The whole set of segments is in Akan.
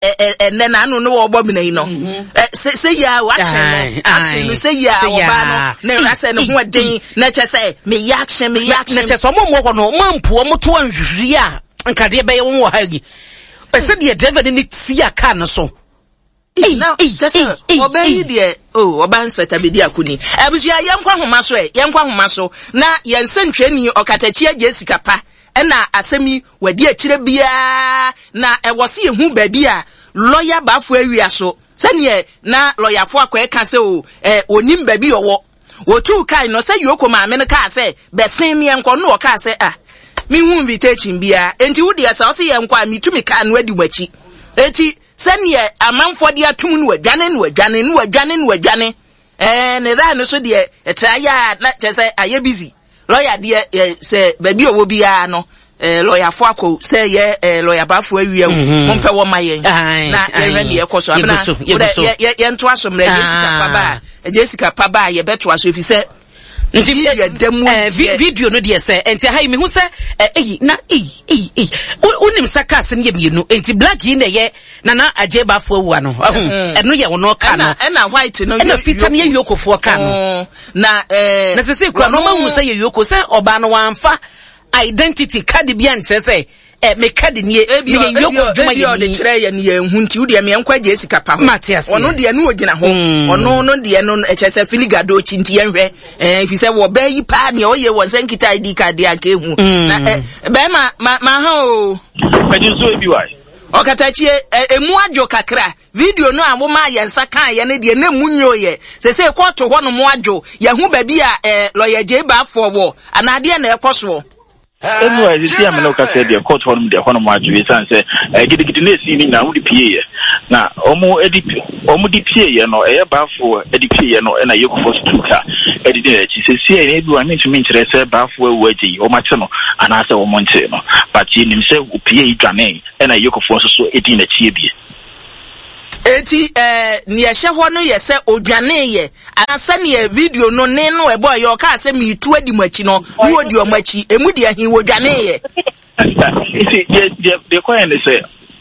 Ɛnɛ na ano ne wɔbɔ mena yi no sɛ sɛ yia wakye no akye no sɛ yia ɔbaa no na asɛ ne ho ɛden na kyɛ sɛ meyɛ akye meyɛ akye na kyɛ sɛ ɔmo mmɔ hɔ no ɔmo ampu ɔmo to anhwehwiri a nkadeɛ bɛyɛ wɔn wɔ ha yi ɛsɛ deɛ driver no ne tia kaa no so. Na kyɛ sɛ ɔbaa yi deɛ o ɔbaa inspector bɛdi akoni. Abusua yɛnkɔ ahoma so ɛ yɛnkɔ ahoma so na yɛn nsɛntwerɛni ɔkatakyie agye sika pa ɛna asɛm yi wadi akyire biara na ɛwɔ se yɛhu baabi a lɔya baafo awia so sɛdeɛ na lɔyafo akɔɛ ka sɛ o ɛ ɔnim baabi ɔwɔ wɔtuu kae no sɛ Yoko maame no kaa sɛ bɛsen meɛnkɔ no ɔkaa sɛ ah mehu invitation biara enti wo deɛ sɛ ɔse yɛnkɔ a metumi kaa no adi m'akyi enti Sɛdeɛ amanfoɔ de atom no wadwane no wadwane no wadwane no wadwane ɛɛ ne raa no so deɛ ɛtra yɛ a na kyerɛ sɛ ayɛ busy lɔya deɛ ɛ sɛ baabi ɔwɔ biara no ɛɛ lɔyafoɔ akɔ sɛ yɛ ɛɛ lɔya baafoɔ awia o mhm. mompɛ wɔ ma yɛn na yɛhwɛ deɛ ɛkɔ so abena wodɛ yɛ yɛ yɛntoa so mmerɛ Jessica pa ba a Jessica pa ba a yɛbɛtoa so efi sɛ nti eh, video no deɛ sɛ nti aha yi mehu sɛ eh, eyi na eyi eyi eyi wonim sɛ cars no yɛ mmienu nti black yi na ɛyɛ nana agye baafo awua no ɛho mm. ɛno yɛ ɔno car no ɛna white no ɛna fita no yɛ yokofoɔ car no mm. na ɛɛ eh, na sese kura no ɔma hu sɛ yɛ yoko sɛ ɔbaa no wɔamfa identity card bi ankyerɛ sɛ ɛ me card nie ebi meyɛ yoko adwuma ebi yɛ ɔde ni kyerɛ yɛn yɛn hu nti wodeɛ meɛ nkɔ agye sika pa ho Mate aseɛ. ɔno deɛ no ogyina hɔ ɔno no deɛ no ɛkyɛ sɛ filiga do akyi nti yɛnhwɛ ɛɛ fi sɛ wɔ bɛɛ yi paa deɛ ɔyɛ wɔ nsɛ nkita ID card deɛ anka ehu na ɛ bɛrima ma ma ha o Ɛgye nso ebi wa. ɔkatakyie ɛ emu adwo kakra video no a womaa yɛn nsa kaa yɛ no deɛ na emu nyo yɛ sese kɔɔto hɔ nom adwo yɛho baabi a ɛ lɔya gye baafoɔ wɔ anaa deɛ na ɛkɔ soɔ. Ɛnu a ɛsisi a me ne wo kasa deɛ court hɔnom deɛ hɔnom adwo esiane sɛ eh, gidigidi na esi ne nyinaa wɔde pieeɛ na wɔn de wɔn de pieeɛ no ɛyɛ baafo de pieeɛ no ɛna yɛkɔfɔ so tuu ka ɛde di n'akyi sɛsi a ebi wa mentumi nkyerɛ sɛ baafo awu agye yi wɔn akye no anaasɛ wɔn nkyee no but yɛnim sɛ opie yi dwanee ɛna yɛkɔfoɔ nso so di n'akyi ebie. Enti eh, nea ɛhyɛ hɔ no yɛ sɛ odwaneeɛ, anaa sɛdeɛ video no ne no ɛbɔeɛ, ɔkaa sɛ meretu adi mo akyi no, na wɔdi wɔn akyi. Emu deɛ he wɔdwaneeɛ? Nti deɛ deɛ deɛ kɔyɛ ne sɛ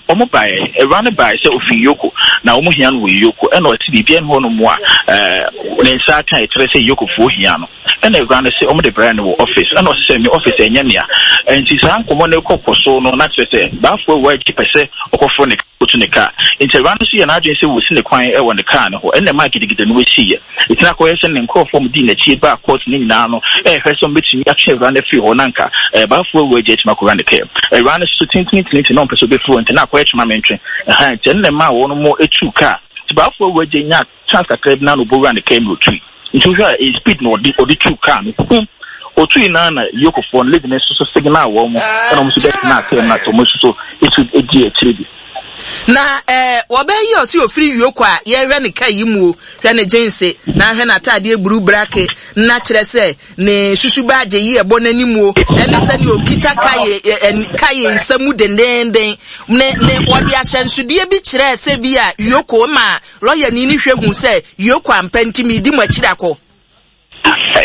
wɔn baeɛ, awura no baeɛ sɛ ofiri Yoko na wɔn hia no wɔ Yoko, ɛna ɔte biribi ɛne hɔ nom a ɛɛ ne nsa aka ɛkyerɛ sɛ Yokofoɔ hia no. Ɛna awura no se wɔn de brɛɛ no wɔ office, ɛna ɔse sɛ me office ɛnyɛ mea. Nti saa nkɔmɔ no kɔ kɔ so no na kyerɛ sɛ Bafo awura gye pɛ sɛ ɔkɔforo ne otu ne kaa. Enti awuraa no nso yɛɛ n'adwene sɛ wosi ne kwan wɔ ne kaa no hɔ. Ɛnna ɛmaa gidigidi no siiɛ. Ɛtumi akɔyɛ sɛ ne nkurɔfoɔ a wɔdii n'akyi baa kɔɔto no nyinaa no rehwɛ sɛ wɔbɛtumi atwe awuraa no afiri hɔ na anka Baafoɔ awu agya atumi akɔwura ne kaa mu. Awuraa no nso tintintinti na ɔmpɛ sɛ ɔbɛfiri hɔ nti na akɔyɛ twema-mentwe. Ɛhaa, nti ɛno na ɛmaa wɔn tuu kaa. Nti Baafoɔ awu agya nyaa chance kakra bi na na ɔbɔwura ne kaa mu na ɔtui. Nti wohwɛ a ɛyɛ speed na ɔde ɔde tuu kaa no pum. Ɔtui no ara na Yokofoɔ no lady no nso so signal wɔn ɛna wɔn nso bɛtenaa kaa mu na wɔn nso so etu dii akyire bi. Na eh, wɔbɛyi ɔse ofiri Yoko a yɛhwɛ ne kaa yi mu o, hwɛ ne jense, na hwɛ n'ataadeɛ buru brake, na kyerɛ sɛ ne susu baagye yi ɛbɔ n'anim o, ɛne sɛdeɛ ɔkita kaye, ɛ, kaye nsa mu dendeenden, ne, ne wɔde ahyɛnsodeɛ bi kyerɛɛ sɛ bi a Yoko ma Lɔyani no hwɛ hu sɛ Yoko ampa nti meredi mo akyiri akɔ.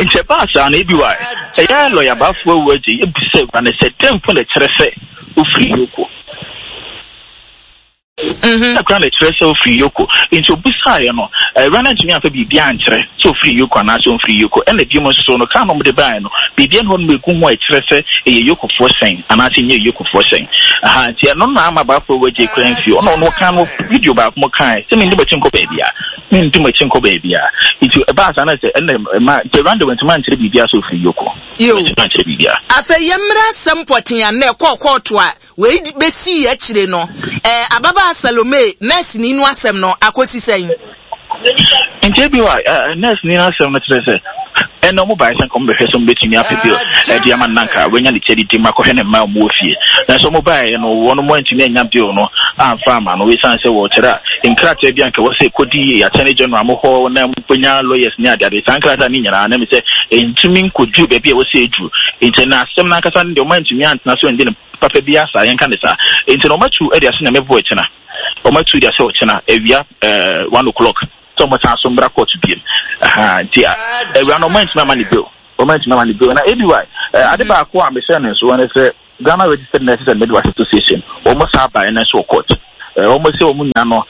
Nti ɛbaa saa no, ebi wa ɛyɛ lɔya Bafo awu agye yi bisa awura no sɛ dɛn mpo na ɛkyerɛ sɛ ofiri Yoko? Dɛn koraa na ɛkyerɛ sɛ ofiri Yoko? Nti obisaeɛ no, awura no antumi amfa biribiara ankyerɛ sɛ ofiri Yoko anaasɛ ɔmfiri Yoko. Ɛna biom nso so no, kaa no a wɔde baeɛ no, biribiara nni hɔ nom a ɛgu ho a ɛkyerɛ sɛ ɛyɛ Yokofoɔ hyɛn anaasɛ ɛnyɛ Yokofoɔ hyɛn. Aha, nti ɛno na ama Bafo awu agye koraa mfie. Ɔno ɔno ɔkaa no video baako mu kae sɛ mendi m'akyi nkɔ baabiara, mendi m'akyi nkɔ baabiara. Nti ɛbaa saa na sɛ ɛna ɛma nti awura no de wantumi ankyerɛ biribiara sɛ ofiri Yoko. Yo. Wantumi ankyerɛ biribiara. Afei yɛmmra asɛm pɔtee a nnɛ ɛkɔɔ kɔɔto a wei besii akyire no. Ɛɛ, ababaa Salome, nɛɛseni no asɛm no akosi sɛn? Nti ebi wɔ a, nɛɛseni no asɛm no kyerɛ sɛ ɛnna wɔn baeɛ sɛ nka wɔn bɛhwɛ sɛ wɔn bɛtumi apɛ bill ɛde ama no na nka wanya ne ti adidi mu akɔhwɛ ne mma a wɔn wɔ fie. Nanso wɔn baeɛ no wɔn mo antumi anya bill no amfa ama no esiane sɛ wɔkyerɛ a nkrataa bi a nka ɛwɔ sɛ ɛkɔdi attorney general mo hɔ na wɔbɛnya lawyers ne adeade saa nkrataa no nyinaa na mi sɛ ɛntumi nkɔduru baabi a ɛwɔ sɛ ɛduru. Nti na asɛm no ankasa no deɛ wɔn antumi antena so andi no papa biara saa yɛnka ne saa. Nti na wɔatu de ahyɛ Nyame bo ɛkyena. Wɔn atu de ahyɛ ɔkyena awia ɛɛ one o'clock sɛ wɔn san so mbra court biem ɛhaa nti awia no wɔn antumi ama ne bail wɔn antumi ama ne bail na aby ɛɛ ade baako a mehyɛ ne nso ne sɛ Ghana Registered Nurses and Midwives Association wɔn saa baeɛ no nso wɔ court. Wɔn sɛ wɔn nua no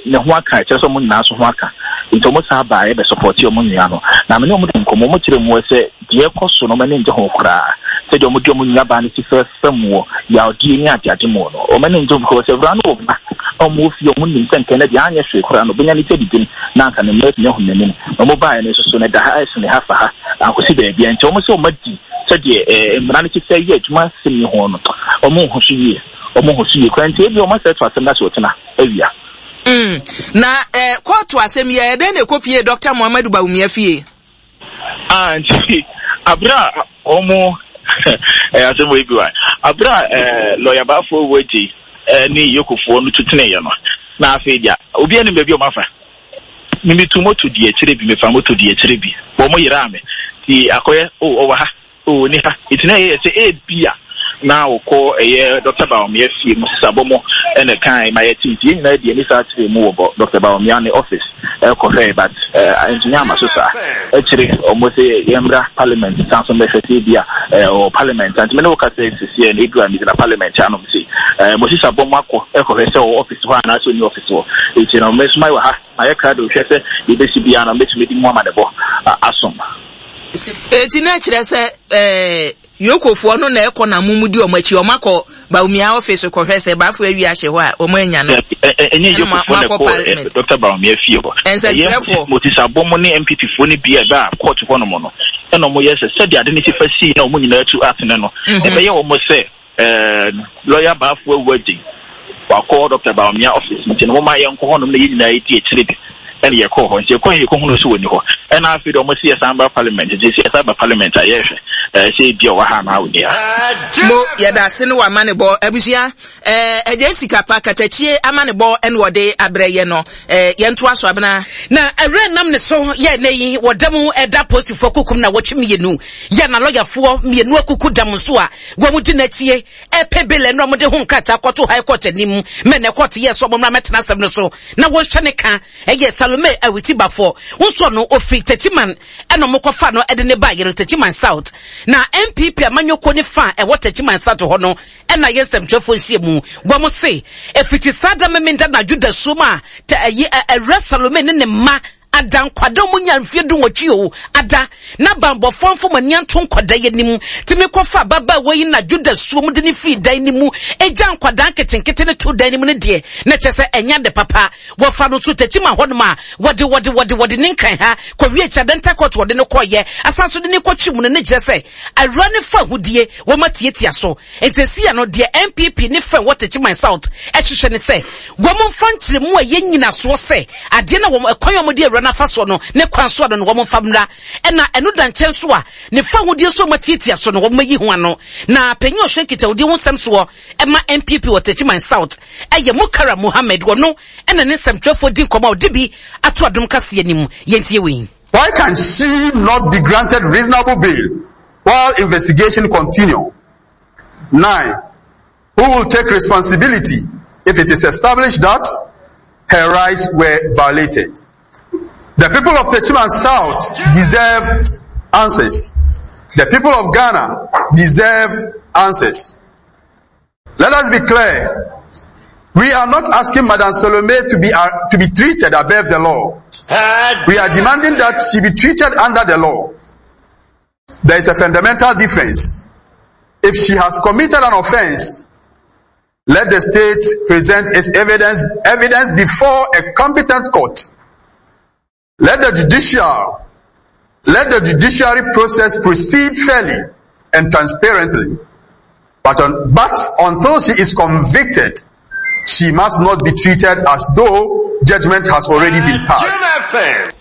ne ho aka, ɛkyerɛ sɛ wɔn nyinaa nso ho aka. Nti wɔn saa baeɛ bɛ sɔpɔte wɔn nua no. Na me ne wɔn di nkɔmmɔ, wɔn kyerɛ mu sɛ deɛ ɛkɔ so no wɔn ani ngye ho koraa. Sɛdeɛ wɔn de wɔn nua baa no si fɛfɛ mu wɔ yawdie ne adeade mu no, wɔn ani ngye ho because awuraa no wɔ mma na wɔn wɔ fie, wɔn nim sɛ nka ɛnɛ deɛ anyɛ hwee koraa no ɔbɛnya ne ti adidim na anka ne mma atumi ahu n'anim. Na wɔn baeɛ no nso so no ɛda ha ɛsene ha fa ha ankosi baabiara. Nti wɔn sɛ wɔn adi sɛdeɛ mmara no si fɛ yɛ adwuma asɛm yi ho no, wɔn nhu so yie. Wɔn ho so yie koraa nti ebia wɔn asɛ to asɛm no ase ɔkyena awia. Mm, na eh, kɔɔto asɛm yi ɛyɛ dɛn na ɛkɔpie Dɔkta Muhammadu Bawumia fie? Ah, nti abere a wɔn ɛyɛ asɛm wɔ ebi wa abere a ɛɛ lɔya baafoɔ wɔ agye ɛne yokofoɔ no tuteneeɛ no na afei deɛ obi anim baabi a wɔn afa. Mimi tu moto di akyire bi mefa moto di akyire bi wɔn yeraa me ti akɔyɛ o ɔwɔ ha. Oh, ɔnni ha. Nti na ɛyɛ sɛ ebia na ɔkɔ ɛyɛ Dɔkta Bawumia fie mu sesabɔ mu ɛna ɛkae ma yɛte. Nti yɛn nyinaa de ani saa kyerɛɛ mu wɔ Dɔkta Bawumia ne office ɛkɔhwɛe but antumi amma so saa. Akyire ɔmo se yɛmmra parliament san so mmɛhwɛ sɛ ebia ɔwɔ parliament a. Nti me ne wo kasa yi seseɛ no ebia megyina parliament anom sei. Mo sesabɔ mu akɔ ɛkɔhwɛ sɛ ɔwɔ office hɔ anaasɛ ɔnni office hɔ. Nti no me nso mayɛ wɔ ha. Mayɛ krado hwɛ sɛ deɛ ɛbɛsi biara no mɛtumi de mu amanebɔ asom. Eti na ɛkyerɛ sɛ ɛɛ Yokofoɔ no na ɛkɔ na mo di wɔn akyi, wɔn akɔ Bawumia office kɔhwɛ sɛ Bafo awi ahyɛ hɔ a wɔn anya no. Ɛnyɛ Yokofoɔ na ɛkɔ Dr. Bawumia fie hɔ. Nsɛntwerɛfoɔ. Ɛyɛ Moses Abɔmo ne NPP foɔ no bi a ɛbaa court hɔ nom no ɛna wɔn yɛ sɛ sɛdeɛ ade no si fa sii na wɔn nyinaa tu atene no ɛbɛyɛ wɔn sɛ Eh, lawyer Bafo awu agye. Wakɔ Dr. Bawumia office nti no moma yɛnkɔ hɔnom na yɛn nyinaa yɛdi akyire bi. Ɛna yɛkɔɔ hɔ. Nti yɛkɔɔ yɛkɔhunu sɛ wɔnni hɔ. Ɛna afei deɛ wɔn si yɛsan ba parliament. Nti sɛ yɛsan ba parliament a yɛhwɛ eh, sɛ ebi a ɔwɔ ha anaa ɔnni ha. Mo yɛda ase ne w'amanebɔ abusua eh, ɛgye sika pa katakyie amanebɔ ɛna ɔde abrɛ yɛ no eh, yɛntoa so abena. Na awura nam ne so yɛ ɛnɛ yi wɔ da mu ɛda polisifoɔ kukum na wɔtwe mmienu yɛ na lɔyafoɔ mmienu akuku dam nso a Wɔn di n'akyie ɛpɛ bail ɛna wɔn de ho nkrataa kɔto high court anim mɛ na court yɛ sɛ wɔn mmra mɛtena asɛm no so na wɔnhwɛ ne ka ɛyɛ Salome Awiti Bafo nso no ofiri Techiman ɛna wɔn kɔfa no ɛde ne ba yɛ no Techiman South na NPP amanyɔkuo ne fa ɛwɔ Techiman South hɔ no ɛna yɛ nsɛmtwerɛfoɔ nhyia mu wɔn se efiti saa da memenda na adwo suom a ɛyi ɛwura Salome ne ne mma Ada nkwadaa ɔmo nya mfie dunwɔtwe o, ada, na banbɔfoɔ mfa ɔmo ani anto nkwadaa yi anim, tumi kɔfa ababaawa yi na Juda suo mu de no firi dan no mu, gyaa nkwadaa nketenkete no too dan no mu no deɛ, na kyerɛ sɛ ɛnyɛ ade papa. Wɔfaa no nso Techiman hɔnom a, wɔde, wɔde, wɔde, wɔde ne Nkran ha kɔwie Kyadenta Court wɔde no kɔeɛ, asan nso de no kɔtwe mu no, ne kyerɛ sɛ awura no fa ahudeɛ, wɔn atiatia so. Enti seesei no, deɛ NPP ne fɛn wɔ Techiman South hwehwɛ ne sɛ wɔmfa nkyerɛmu a ɛyɛ nnyinasoɔ sɛ adeɛ no a wɔn ɛkwan a wɔde awura no afa soɔ no ne kwan so ano no wɔmfa mmra. Ɛna ɛno da nkyɛn nso a, ne fawohodie nso a wɔatiatia so no wɔmmɛyi ho ano. Na panyin a ɔhwɛ nkitahodie ho nsɛm soɔ ma NPP wɔ Techiman South yɛ Mukaram Mohammed, ɔno na ne nsɛmtwerɛfoɔ di nkɔmmɔ a ɔde bi ato Adom Kaseɛ no mu. Yɛntie wei. Why can she not be granted reasonable bail while investigation continue? 9. Who will take responsibility if it is established that her rights were violated? The people of Techiman South deserve answers. The people of Ghana deserve answers. Let us be clear. We are not asking Madam Salome to be, uh, to be treated above the law. We are demanding that she be treated under the law. There is a fundamental difference. If she has committed an offense, let the state present its evidence, evidence before a competent court. Let the judicial, let the judiciary process proceed fairly and transparently. But, on, but until she is convicted, she must not be treated as though judgment has already been passed.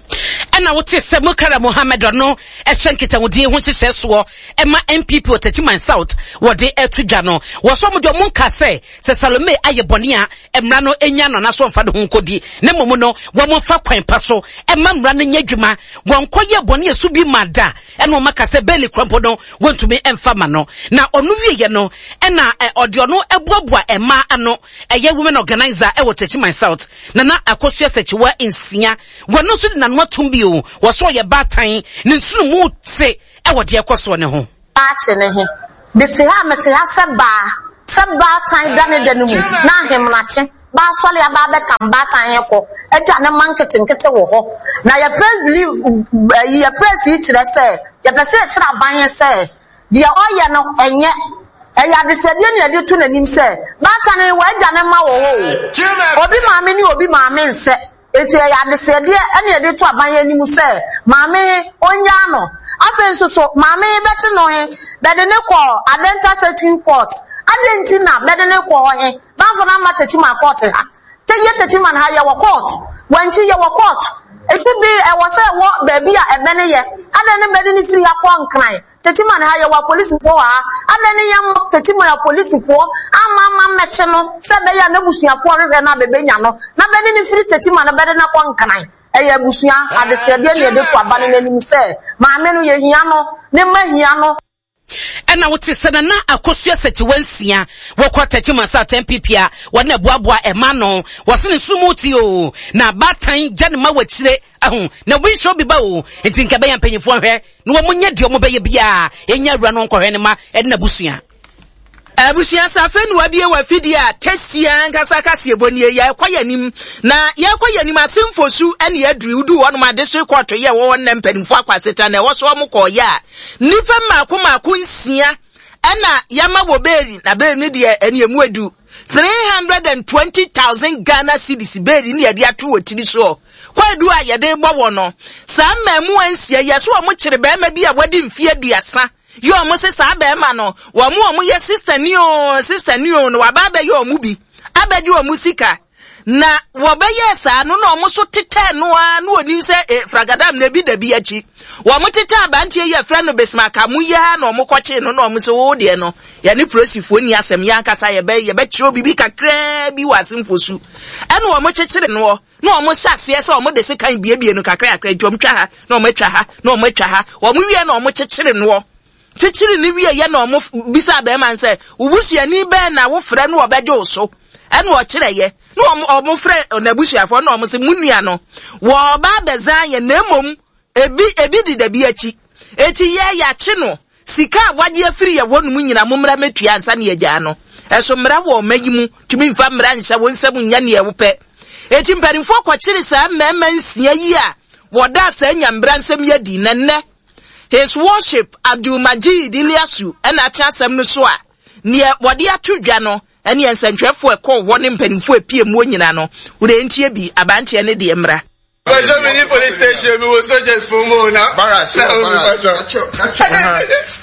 ɛna wote sɛ mukara mohammed ɔno ɛhyɛ nkitahodie ho nhyehyɛ soɔ ɛma npp wɔ Techiman South wɔde ɛto dwa no wɔsɔ mo deɛ ɔmo nka sɛ sɛ Salome ayɛ bɔne a mmara no nya no anaasɛ ɔmfa ne ho nkɔdi na mmom no wɔn mfa kwan pa so ɛma mmara no nyɛ adwuma wɔn kɔ yɛ bɔne ɛso bi ma da ɛna wɔn aka sɛ bɛɛli kura mpo no wɔntumi ɛmfa ma no na ɔno wieɛ no ɛna ɔde ɔno ɛboaboa ɛmaa ano ɛyɛ women organizer ɛwɔ Techiman South Nana Akosua Sɛkyiwa nsia wɔn nso de n'ano atom bio wɔsɔ ɔyɛ baatan ne nsono mu te ɛwɔ deɛ ɛkɔ soɔ no ho. Daakye ne he? Mete ha a, mete ha sɛ baa, sɛ baatan da ne da no mu, na ahemenakye. Bɛasɔre aba abɛtam baatan he kɔ agya ne mma nketenkete wɔ hɔ. Na yɛ press believe ayi yɛ press yi kyerɛ sɛ yɛpɛ sɛ yɛkyerɛ aban he sɛ deɛ ɔyɛ no ɛnyɛ. Ɛyɛ adesrɛdeɛ ne yɛde to n'anim sɛ baatan he w'agya ne mma wɔ hɔ o. Obi maame ne obi maame nsɛ. Enti ɛyɛ adesrɛdeɛ ne yɛde to aban he anim sɛ maame he ɔnnyaa no. Afei nso so maame he bɛkye no he bɛde no kɔɔ Adenta Circuit Court. Adɛn nti na bɛde no kɔɔ hɔ he? Bamfa no amma Techiman court ha. Te yɛ Techiman ha yɛwɔ court. Wankyi yɛwɔ court. Esu bi ɛwɔ sɛ ɛwɔ baabi a ɛbɛne yɛ. Adɛn ne bɛde no firi ha kɔ Nkran? Techiman ha yɛwɔ apolisifoɔ wɔ ha. Adɛn ne yɛmma Techiman apolisifoɔ amma amma mmɛkye no sɛ ɛbɛyɛ a n'abusuafoɔ hwehwɛ no a bɛbɛnya no na bɛde no firi Techiman no bɛde no akɔ Nkran. Ɛyɛ abusua adesrɛdeɛ ne yɛde to aba no n'anim sɛ maame no yɛhia no, ne mma hia no. Ɛna wote sɛ Nana Akosua Sekyewa-Nsia wɔkɔ Techiman South NPP a wɔne ɛboaboa ɛma ano. Wɔse ne nsono mu te oo, na abaatan gya ne ma wɔ akyire ahu, na obi nhyɛ obi ba oo, nti nka ɛbɛyɛ mpanyinfoɔ nhwɛ na wɔn nyɛ deɛ wɔn bɛyɛ biara, ɛnya awura no nkɔhwɛ ne ma ɛne n'abusua. Abusua safe na wabie w'afidie a tasty ankasa kaseɛbɔ nie yɛrekɔ yɛn anim na yɛrekɔ yɛn anim asemfosu ɛne aduri woduu hɔnom adesoe kɔɔto yɛ ɛwɔ hɔ nnɛ mpanimfoɔ akɔ asetena na ɛwɔ so wɔn kɔɔyɛ a nnipa mmaako mmaako nsia ɛna yɛama wɔ beeli na beeli no deɛ ɛne emu edu 320,000 Ghana cedis beeli ne yɛde ato wɔ tiri soɔ kwaadu a yɛde bɔ wɔ no saa mmaamuwa nsia yɛ so wɔn kyere bɛrima bi a wadi mfeɛ aduasa Yɛ ɔmo se saa bɛɛma no wɔn ɔmo yɛ sister ni oo sister ni oo no waba abɛyɛ ɔmo bi abɛgye ɔmo sika na wɔbɛyɛɛ saa no na ɔmo so tetɛɛ no ara na onim sɛ e fragadam na ebi da bi akyi wɔn tetɛ abanteɛ yi ɛfrɛ no Bismarck mo yi ara na ɔmo kɔkyee no na ɔmo se wo deɛ no yɛne polisifoɔ ni asɛm yɛn ankasa yɛbɛ yɛbɛkyerɛ obibi kakraa bi wɔ asemfo su ɛna ɔmo kyekyere noɔ na wɔn hyɛ aseɛ sɛ wɔn de sekan biebie no kakrakra nti wɔn twa ha na wɔn atwa ha na wɔn atwa ha wɔn wie na wɔn kyekyere noɔ kyekyere ne wie yɛ na wɔn bisa bɛrima no sɛ wobusuani bɛn na wofrɛ no ɔbɛgye wo so ɛna ɔkyerɛ yɛ na wɔn wɔn frɛ n'abusuafoɔ na wɔn sɛ mu nua no wɔba abɛzan yɛ na mmom Ebi, ebi deda bi akyi. Eti yɛ, yɛakye no. Sika a wagye afiri yɛ hɔ nom nyina, mommra mmɛtua ansa na yɛagyaa no. Ɛso mmara wɔ ɔma yi mu, tumi mfa mmara nhyɛ wo nsam nyɛ neɛ wopɛ. Eti mpanimfoɔ kɔkyere saa mmarima nsia yi a wɔdaa saa nyambra nsɛm yi adi, na nnɛ, His Worship Abdul Majid Ilyasu na ate asɛm no so a, neɛ wɔde ato dwa no, ɛneɛ nsɛntwerɛfoɔ a ɛkɔɔ hɔ ne mpanimfoɔ a ɛpie muo nyina no, wodeɛ ntie bi, abanteɛ ne deɛ mmra. Bàjọ́ mi ní police station mi wo soldiers fún mu na. Barras na wɔ barras.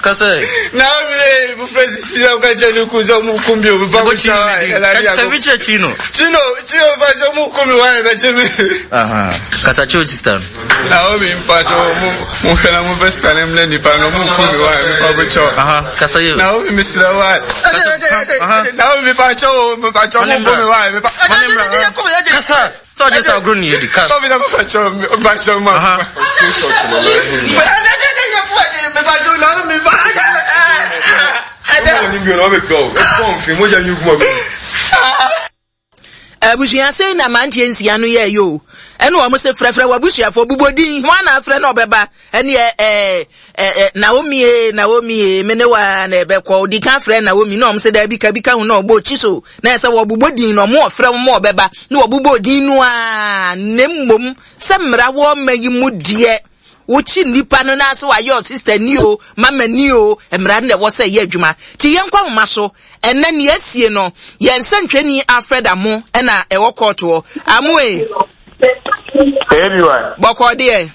Kasa. Na mi ye ibufre sisi na nka kyerɛ ne kun sɛ ɔmo kun mi o mi ba mo kyerɛ wa ɛla di ako. Kabi kyerɛ Chino. Chino Chino bàjọ́ mo kun mi wa ɛ bɛ kye mi. Kasa kyerɛ sista no. Na o mi mpatsɔ mo mo hwɛ na mo fɛ sika ne mlɛ nipa no mo kun mi wa mi ba mo kyɛw. Kasa yi. Na o mi mi srɛ wa. Na o mi mpatsɔ o mi mpatsɔ mo kun mi wa mi ba. Kasa. Sɛ ɔgye sɛ agorɔ ne yɛdi ka. Abusua sei na mmeranteɛ nsia no yɛɛyɛ o. Ɛna wɔn se frɛfrɛ w'abusuafoɔ bobɔ din hwan na afrɛ na ɔbɛba ɛneɛ ɛɛ ɛɛ Naomi ee Naomi ee me ne wa na ɛbɛkɔ odi kan frɛ Naomi na wɔn se daabi ka bi ka ho na ɔbɔ okyi so na ɛsɛ wɔbobɔ din na wɔn ɔfrɛ wɔn ɔbɛba na wɔbobɔ din no a na mmom sɛ mmara wɔ ɔma yi mu deɛ wokyi nnipa no na sɛ wayɛ ɔsista ni o mama ni o mmara no na ɛwɔ sɛ ɛyɛ adwuma ti yɛn nkɔ ahoma so ɛnɛ nea asie no yɛn nsɛntwɛni Alfred Amo ɛna ɛwɔ kɔɔto hɔ Amo e. Bɔkɔɔ deɛ.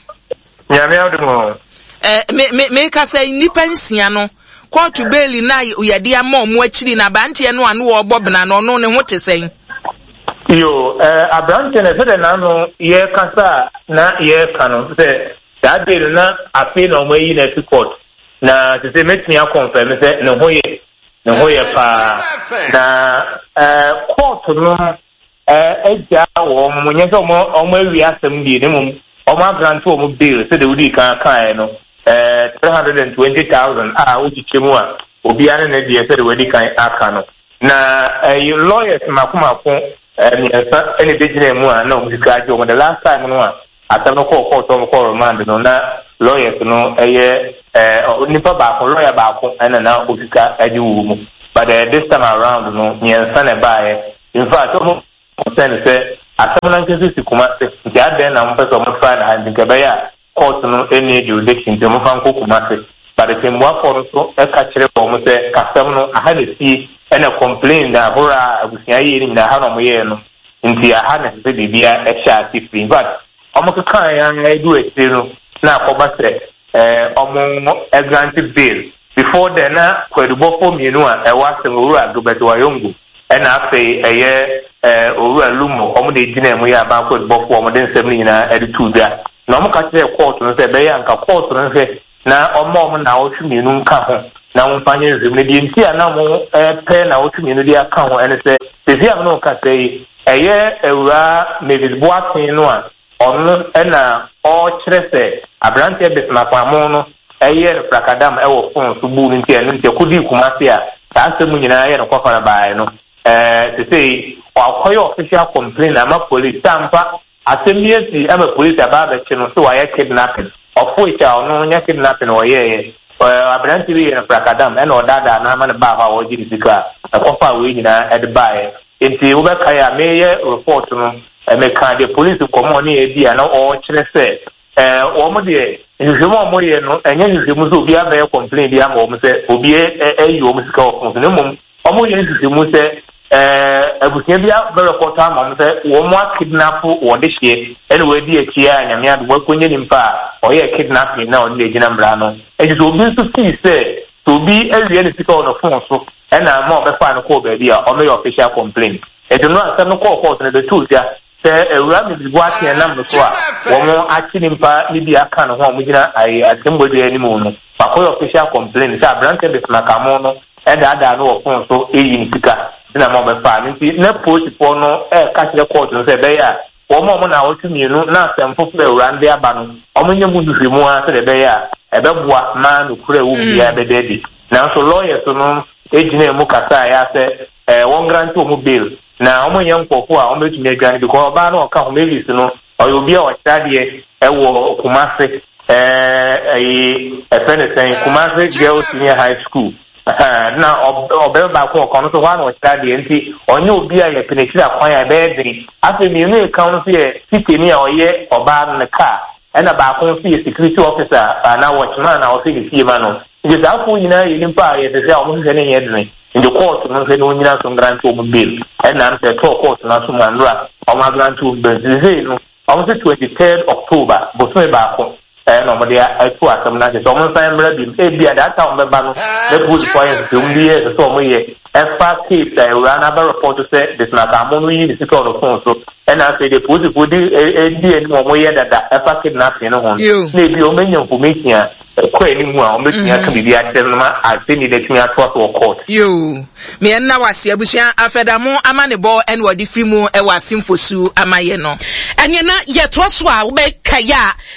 Nyame adom o. Eh, me me meka sɛ nnipa nsia no kɔɔto beeli na yɛde ama ɔmo akyiri na aberanteɛ no a no wɔrebɔ bena no ɔno ne ho te sɛn? Yo, eh, aberanteɛ no sɛdeɛ n'ano yɛrekasa a na yɛreka no sɛ saa day no na afei na ɔmo ayi no afi court na sɛ sɛ mɛtumi akɔnfɛm sɛ ne ho yɛ ne ho yɛ paa na eh, court no agyaa wɔn, nyɛ sɛ wɔn awie asɛm deɛ, na mmom wɔn agrante wɔn bail sɛdeɛ wodii kan kaeɛ no, 320,000 a wokyekyɛ mu a obiara ne ne deɛ sɛdeɛ wadi kan aka no. Na ɛyi lawyers mako mako mmiɛnsa na ɛbɛgyina mu a na wɔn sika agye wɔn. The last time no a asɛm no kɔɔ court wɔn kɔɔ remand no na lawyers no ɛyɛ ɛɛ nipa baako lawyer baako ɛna na osika agye wɔ mu. But uh, this time around no mmiɛnsa na ɛbaeɛ. In fact, wɔn. concern sɛ asɛm no ankasa si Kumasi nti adɛn na wɔpɛ sɛ wɔtra no ha nti nka ɛbɛyɛ a court no nni jurisdiction nti wɔmfa nkɔ Kumasi. But tɛmbuafoɔ no nso ka kyerɛɛ wɔn sɛ kasɛm no aha na esie ɛna complain ahorow a abusua yɛɛ no nyinaa aha na wɔyɛɛ no nti aha na ɛsɛ sɛ biribiara hyɛ ase firi. In fact wɔkekaeɛ ara duu akyire no na akɔba sɛ wɔn grant bail. Before then na kwaadubɔfoɔ mmienu a ɛwɔ asɛm Owura Gilbert Wayongo ɛna afei ɛyɛ Owura Lumo wɔn na ɛgyinaa mu yɛ aban kwaadubɔfoɔ a wɔde nsɛm no nyinaa de too dwa. Na wɔka kyerɛɛ kɔɔto no sɛ ɛbɛyɛ a nka kɔɔto no nhwɛ na ɔmma wɔn nnawɔtwe mmienu nka ho na wɔmfa nyɛ nhwehwɛmu. Na deɛ nti a na wɔrepɛ nnawɔtwe mmienu de aka ho ne sɛ, seesei a me ne wo kasa yi, ɛyɛ Awuraa Mavis Boateng no a ɔno na ɔrekyerɛ sɛ aberanteɛ Bismarck Amoh no yɛɛ no frakadam wɔ fon so buu no nti a ɛno nti ɛkɔdii Kumasi a saa asɛm mu nyinaa yɛ no kɔfa no baeɛ no, seesei wakɔyɛ official complaint ama police sɛ ampa Asɛm bi asi ama polisi aba abɛkye no sɛ wayɛ kidnapping. Ɔfoe a ɔno nyɛ kidnapping na ɔyɛeɛ. Aberanteɛ bi yɛɛ no frakadam ɛna ɔdaadaa no ama no baa hɔ a ɔregye ne sika a ɛkɔfaa wei nyinaa de baeɛ. Nti wobɛkae a mereyɛ report no mekaa deɛ polisi nkɔmmɔ a ɔne yɛn dii a na ɔrekyerɛ sɛ wɔn deɛ nhwehwɛmu a wɔyɛ no ɛnyɛ nhwehwɛmu sɛ obi abɛyɛ complain bi ama wɔn sɛ obi ayi wɔn sika wɔ phone so na mmom Wɔyɛ nhwehwɛmu sɛ abusua bi abɛrepɔtɔ ama wɔn sɛ wɔn akidnapo wɔn dehyeɛ ɛna wɔadi akyi a Nyame adom wɔakɔnya nipa a ɔyɛɛ kidnapping na ɔde no agyina mmara ano. Nti sɛ obi nso fii sɛ sɛ obi awia ne sika wɔ ne phone so ɛna ama ɔbɛfaa no kɔɔ baabi a ɔmmɛyɛ official complaint. Nti no asɛm no kɔɔ court no ɛbɛtoo dwa sɛ Awuraa Mrs Boateng nam no so a wɔn akye nipa no bi aka ne ho a wɔgyina atemmuadua anim no, wakɔyɛ official complaint sɛ aberanteɛ Bismarck Amoh no daadaa no wɔ phone so reyi ne sika nti na ama wɔbɛfaa no. Nti na polisifoɔ no reka kyerɛ court no sɛ ɛbɛyɛ a wɔn a wɔn naawɔtwe mmienu na asɛm foforɔ a awuraa no de aba no wɔnyɛ mu nhwehwɛmu ara sɛdeɛ ɛbɛyɛ a ɛbɛboa ma nokorɛ a ɛwɔ mu biara bɛda adi. Nanso lawyers no gyinaa mu kasaeɛ ara sɛ wɔn grante wɔn bail Na wɔn nyɛ nkorɔfoɔ a wɔn bɛtumi adwane because ɔbaa no a ɔka ho Mavis no ɔyɛ obi a ɔkyerɛ adeɛ ɛwɔ Kumasi ɛɛ ɛyi ɛfɛ ne sɛn Kumasi Girls Senior High School ɛhɛn na ɔbɛrɛ baako ɔka ɔno nso hɔ a na ɔkyerɛ adeɛ nti ɔnyɛ obi a yɛpɛ n'akyiri akwan a ɛbɛyɛ den afei mmienu a ɛka ho nso yɛ titani a ɔyɛ ɔbaa no ne kaa ɛna baako nso yɛ security officer anaa watchman a ɔhwɛ ne fie ma no Nti saa foɔ nyinaa yɛ nipa a yɛhwehwɛ a wɔn hwehwɛ no nyɛ dene. Nti kɔɔto no nhwɛ na ɔnyina so ngrante wɔn bail. Ɛnam sɛ ɛtɔɔ kɔɔto no aso mu a nnora wɔn agrante wɔn bail. Nti sesei no wɔn se 23rd October, bosome baako ɛna wɔn de ato asɛm no ase sɛ wɔn nsan mmra biom. Ebia that time wɔn bɛba no na polisifoɔ ayɛ nhwehwɛmu bi a ɛsɛ sɛ wɔn yɛ ɛfa case a awuraa no abɛ report sɛ Bismarck Amoh no yi ne sika wɔ ne phone so ɛna afei deɛ polisifoɔ di di anim wɔn yɛ dada ɛfa kidnapping no ho no na ebia wɔn anya information a ɛkɔ anim a wɔbɛtumi aka biribi akyerɛ no ma asɛnni no atumi atoa so wɔ court. Yoo, meɛ nna wase abusua afɛda mo amanebɔ ɛna ɔde firi mu ɛwɔ asemfosu ama yɛ no. Ɛneɛ na yɛtoa so a wobɛkae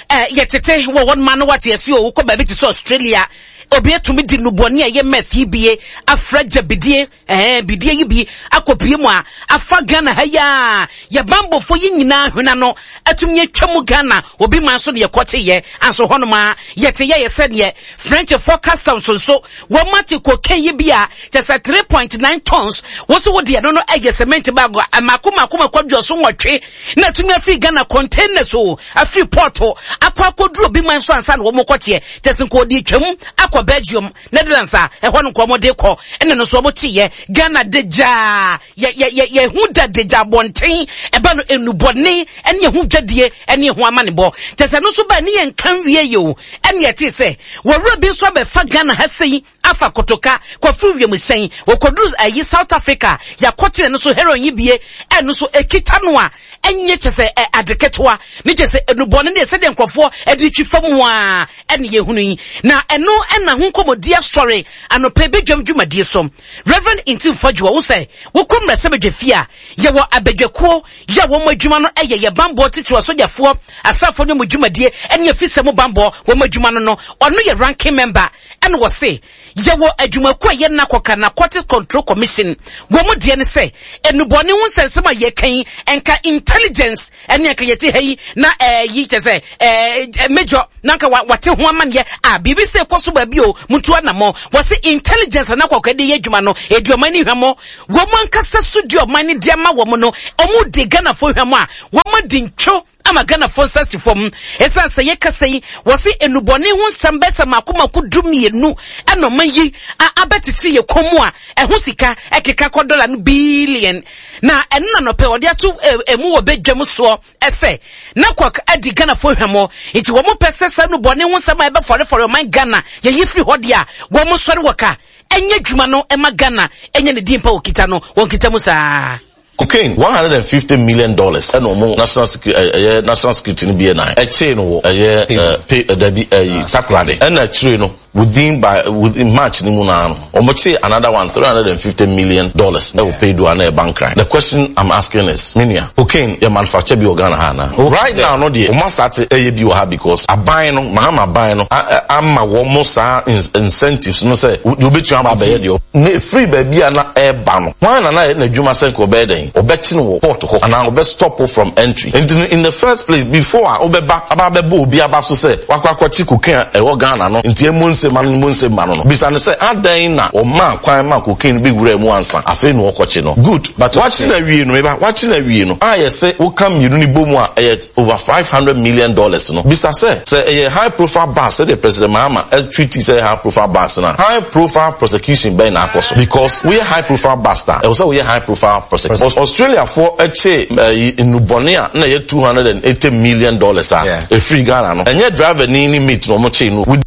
a yɛtete wɔ hɔ noma no wate ase o wokɔ baabi te sɛ Australia obi atumi di nnubɔne a ɛyɛ meth yi bie afra gyabidie Ɛɛ bidie yi bi akɔpue mu a afa Ghana ha yi a yɛ bambɔfoɔ yi nyinaa hwena no atumi atwa mu Ghana obi man so ne yɛkɔteyɛ anso hɔnom a yɛte yɛyɛ sɛdeɛ Frenchfoɔ customs nso wɔn ate cocaine yi bi a kyɛ sɛ 3.9 tons wo so wo deɛ no no ɛyɛ cement bag a mako mako mako aduɔso nwɔtwe na atumi afiri Ghana containers o afiri port akɔ akɔduru obi man so ansa na wɔn kɔteɛ kyɛ sɛ nka ɔde twam akɔ Belgium Netherlands a ɛhɔ no nka wɔn de kɔ ɛna no nso wɔn te yɛ Ghana de gyaa yɛ yɛ yɛ yɛ ho da de gya abɔnten ɛba no enubɔne ɛne ɛho dwadie ɛne ɛho amanebɔ kyɛ sɛ no nso ba ne yɛn nka nwie yɛ o ɛne ɛte sɛ wɔwura bi nso abɛfa Ghana ha sɛyi afa kotoka kɔfiri wiemhyɛn wɔkɔduru ayi South Africa yɛakɔkyerɛ no so heroin yi bie ɛno nso ekita no a ɛnyɛ kyɛ sɛ ɛ ade ketewa ne kyɛ sɛ enubɔne ne sɛdeɛ nkurɔfoɔ ɛde twi fam a ɛne yɛhunu yi, na ɛno ɛna ho nkɔmmɔdi asɔre anɔpa badwam dwumadie so. Reverend Ntim Fadwoa, wo sɛ wokɔ mmarahyɛbadwa fie a, yɛwɔ abadwakuo yɛ a wɔn adwuma no ɛyɛ yɛ banbɔ titiriw asogyafoɔ, asraafoɔ ne wɔn dwumadie ɛne afisɛ mu banbɔ wɔn adwuma no no, ɔno yɛ ranking member ɛna wɔse Yɛwɔ adwumakuo a ɛyɛ NACOC, Narcotics Control Commission. Wɔn deɛ ne sɛ, nnubɔne ho nsɛnsɛm a yɛka yi, nka intelligence ɛne anka yɛte ha yi na ɛyi kyɛ sɛ ɛɛ major na anka wate ho amaneɛ a biribi sɛ ɛkɔ so baabi. Dabi o, montu anammɔn. Wɔse intelligence a na kɔkɔɛ de yɛ adwuma no, ɛdi ɔman no hwammɔ. Wɔn ankasa so di ɔman no de ama wɔn no, wɔn di Ghanafoɔ hwammɔ a, wɔn adi ntwo ama Ghanafoɔ nsa si fam. Ɛsiane sɛ yɛkasa yi, wɔse nnubɔne ho nsɛm bɛyɛ sɛ mako mako 12 ɛna ɔman yi a abɛkyekyere yɛ kɔn mu a ɛho sika ɛkeka kɔ dɔla no billion. Na ɛno na nɔpɛ wɔde ato ɛmu wɔ badwam soɔ sɛ na kwak adi Ghanafoɔ hwammɔ nti wɔn pɛ sɛ saa nnubɔne ho nsɛm a ɛbɛfɔrefɔre ɔman Ghana yɛyi firi hɔ deɛ a wɔn sɔre wɔ ka ɛnyɛ adwuma no ɛma Ghana ɛnyɛ ne din pa wɔkita no wɔn kita mu saa. Cocaine $150 million ɛna ɔmo national security ɛyɛ national security no BNI ɛkyee no wɔ ɛyɛ ɛ pe ɛdabi ɛyi Takoradi ɛna akyire no within by within March ne mu naa no ɔmo kyee another one $350 million ɛwɔ Pedu a na ɛba Nkran. The question I'm asking is me nua cocaine yɛ manufacture bi wɔ Ghana ha anaa? Right now no deɛ ɔmo asate ɛyɛ bi wɔ ha because aban no Mahama aban no ama wɔn saa incentives no sɛ deɛ obetumi aba abɛyɛ deɛ na efiri baabi a na ɛreba no hwan na na ɛyɛ n'adwuma sɛ nka ɔbɛyɛ dɛn ɔbɛkye no wɔ port hɔ anaa ɔbɛ stop from entry nti no in the first place before a wobɛba aba abɛbɔ obi aba so sɛ wakɔ akɔkye cocaine a ɛwɔ Ghana no nti emu nse ma no mu nse ma no no bisa no sɛ adɛn na ɔmaa kwan ma cocaine bi wura mu ansa afei na ɔkɔkye no good but wakye no awie no meba wakye no awie no a yɛsɛ woka mmienu no bɔ mu a ɛyɛ over $500 million no, bisa sɛ, sɛ ɛyɛ high profile bust sɛdeɛ President Mahama treat sɛ ɛyɛ high profile bust no a, high profile prosecution bɛn na akɔ so? Because woyɛ high profile bust a, ɛwɔ sɛ woyɛ high profile prosecution. Australiafoɔ kyee ɛyi nnubɔne a na ɛyɛ $280 million a ɛfiri Ghana no, ɛnyɛ driver ni ne mate na wɔkyee no.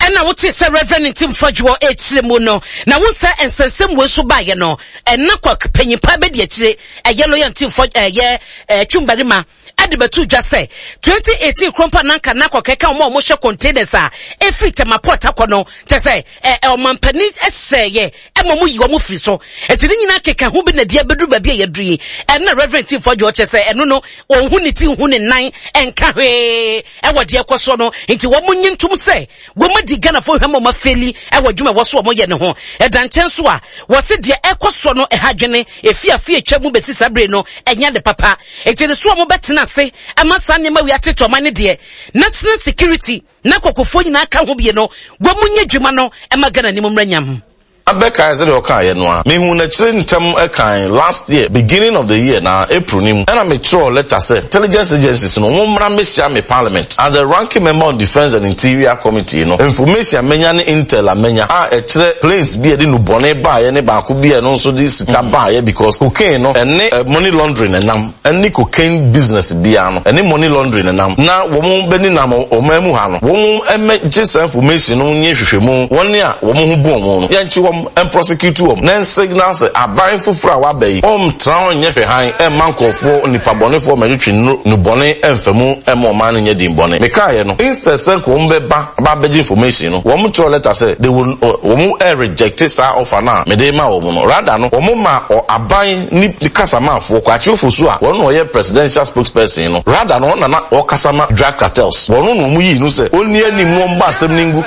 Ɛna wotee sɛ Reverend Ntim Fodjour rekyerɛ mu no, na wohu sɛ nsɛnsɛm wei nso baeɛ no, ɛna Kwak panyin paa bɛdi akyire, ɛyɛ lawyer Ntim Fodjour, ɛyɛ ɛɛ Twumbarima, ɛde bɛto dwa sɛ 2018 kuro mpo a na anka na akɔkɛka wɔn a wɔhyɛ containers a ɛfiri Tema Port akɔ no, kyɛ sɛ ɛ ɔmampanin hyɛeɛ ɛma wɔn yi wɔn firi so. Ɛti ne nyinaa keka ho bi na deɛ abɛduru baabi a yɛaduru yi. Ɛna Reverend Ntim Fodjour kyɛ sɛ ɛno no, ɔnhu ne ti nhu ne nan ɛnka hwee. ɛwɔ deɛ ɛkɔ soɔ no nti wɔn nye ntom sɛ wɔn adi Ghanafoɔ hwam a wɔn afeeli ɛwɔ adwuma ɛwɔ so wɔn yɛ ne ho. Ɛda nkyɛn nso a wɔse deɛ ɛkɔ soɔ no ɛha adwene efi afe atwa mu bɛsi saa bere no ɛnyɛ ade papa nti ne so wɔn bɛtena ase ama saa nneɛma wei atete ɔman no deɛ national security na kɔkɔfoɔ nyinaa ka ho bie no wɔn nyɛ adwuma no ɛma Ghana anim mmra nyam. Abɛkae sɛdeɛ ɔkaeɛ no ara. Mehuu n'akyire ntɛm kan last year beginning of the year na April no mu ɛna metwerɛɛ letter sɛ intelligence agencies no wɔn mmra mmɛhyia me parliament as the ranking member on defence and interior committee no information a manya ne intel a manya a ɛkyerɛ planes bi a ɛde nnubɔne baeɛ ne baako bi a ɛno nso de sika baeɛ because cocaine no ɛne money laundering nam. ɛne cocaine business biara no ɛne money laundering nenam na wɔn bɛ nenam ɔman mu ha no wɔn mmɛ gye saa information no nyɛ nhwehwɛmu wɔn a wɔn ho bu wɔn no yɛnkye wɔn mprosecute wɔn na nsignal sɛ aban foforɔ a waba yi ɔntra hɔ nyɛ hwɛhan ɛmma nkorɔfoɔ nipa bɔnefoɔ mmɛtwetwe nnubɔne ɛmfa mu ɛmma ɔman no nyɛ din bɔne mekaeɛ no instead sɛ nka wɔn bɛba aba abɛgye information no wɔn twerɛ letter sɛ they will wɔn reject saa offer no a mede ma wɔn no rather no wɔn ma aban ne kasamafoɔ Kwakye Ofosu a wɔn na ɔyɛ presidential spokesperson no rather no ɔno na na ɔkasa ma drug cartels wɔn na wɔn yii no sɛ ɔnni anim na ɔmmɔ asɛm no ngu.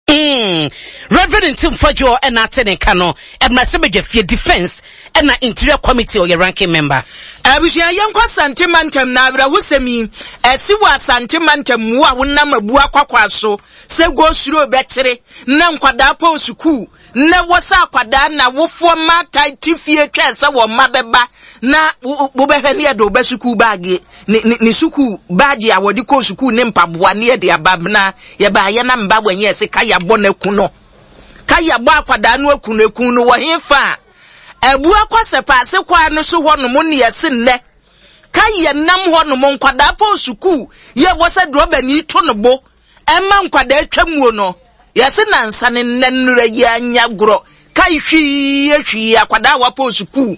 Mm, Reverend Ntim Fodjour ɛna ate ne nka no, Mmarahyɛbadwafie Defence ɛna Interior Committee ɔyɛ ranking member. Abusua yɛnkɔ Asante mantam na awerɛhosɛm yi ɛsi wɔ Asante mantam mu a wonam abua kwakwa so sɛ go slow bɛkyere na nkwadaa pɔw sukuu Nnɛ wɔ sɛ akwadaa na awofoɔ mmaatan te fie twɛn sɛ wɔn mma bɛba na wobɛhwɛ ne yɛde wo sukuu baage ne ne ne sukuu baagye a wɔde kɔɔ sukuu ne mpaboa ne yɛde aba na yɛbaayɛ na mba wɔn yɛ se ka yɛabɔ no aku no ka yɛabɔ akwadaa no aku no aku no wɔ he fa a abu akɔ sɛ paase kwaa no so hɔ nom ne yɛse nnɛ ka yɛnam hɔ nom nkwadaa pɔn sukuu yɛ wɔ sɛ drɔbani to no bo Ɛma nkwadaa twa muo no, yɛse nansa ne nnɛ nnora yi anya gorɔ kai hwii hwii akwadaa a wapɔn sukuu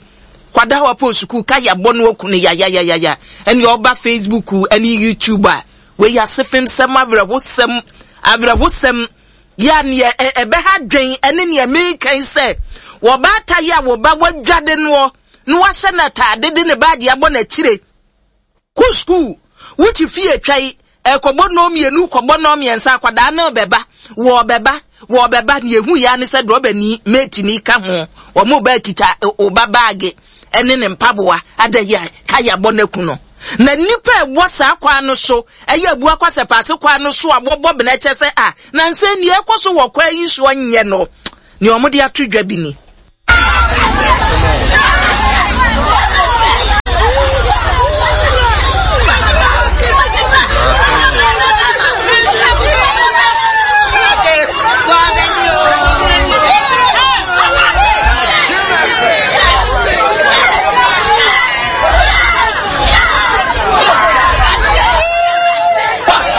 kwadaa a wapɔn sukuu kai abɔ no aku no yayayayaya ɛne ɔba Facebook ɛne YouTube a wei asefem sɛm awerɛhosɛm awerɛhosɛm yɛ a neɛ ɛbɛha dwen ɛne neɛ mekan sɛ wɔbaata yi a wɔba wadwade noɔ na wahyɛ no ataade de ne baagye abɔ n'akyire Kɔ sukuu, wo te fie twa yi, ɛkɔbɔ nnɔn mmienu, kɔbɔ nnɔn mmiɛnsa, akwadaa no rebɛba, wɔrebɛba, wɔrebɛba, nea ehu yɛ ne sɛ drɔbani, mateni ka ho, wɔn ba kita ɔba baage ɛne ne mpaboa, ada yi a kaya bɔ n'aku no. Na nnipa a ɛwɔ saa kwan no so, ɛyɛ Abua Kwasɛpaase kwan no so a wɔbɔ bena kyɛ sɛ a, nansa yi nea ɛrekɔ so wɔ kwan yi soɔ nyɛ no, nea wɔde ato dwa bi ni.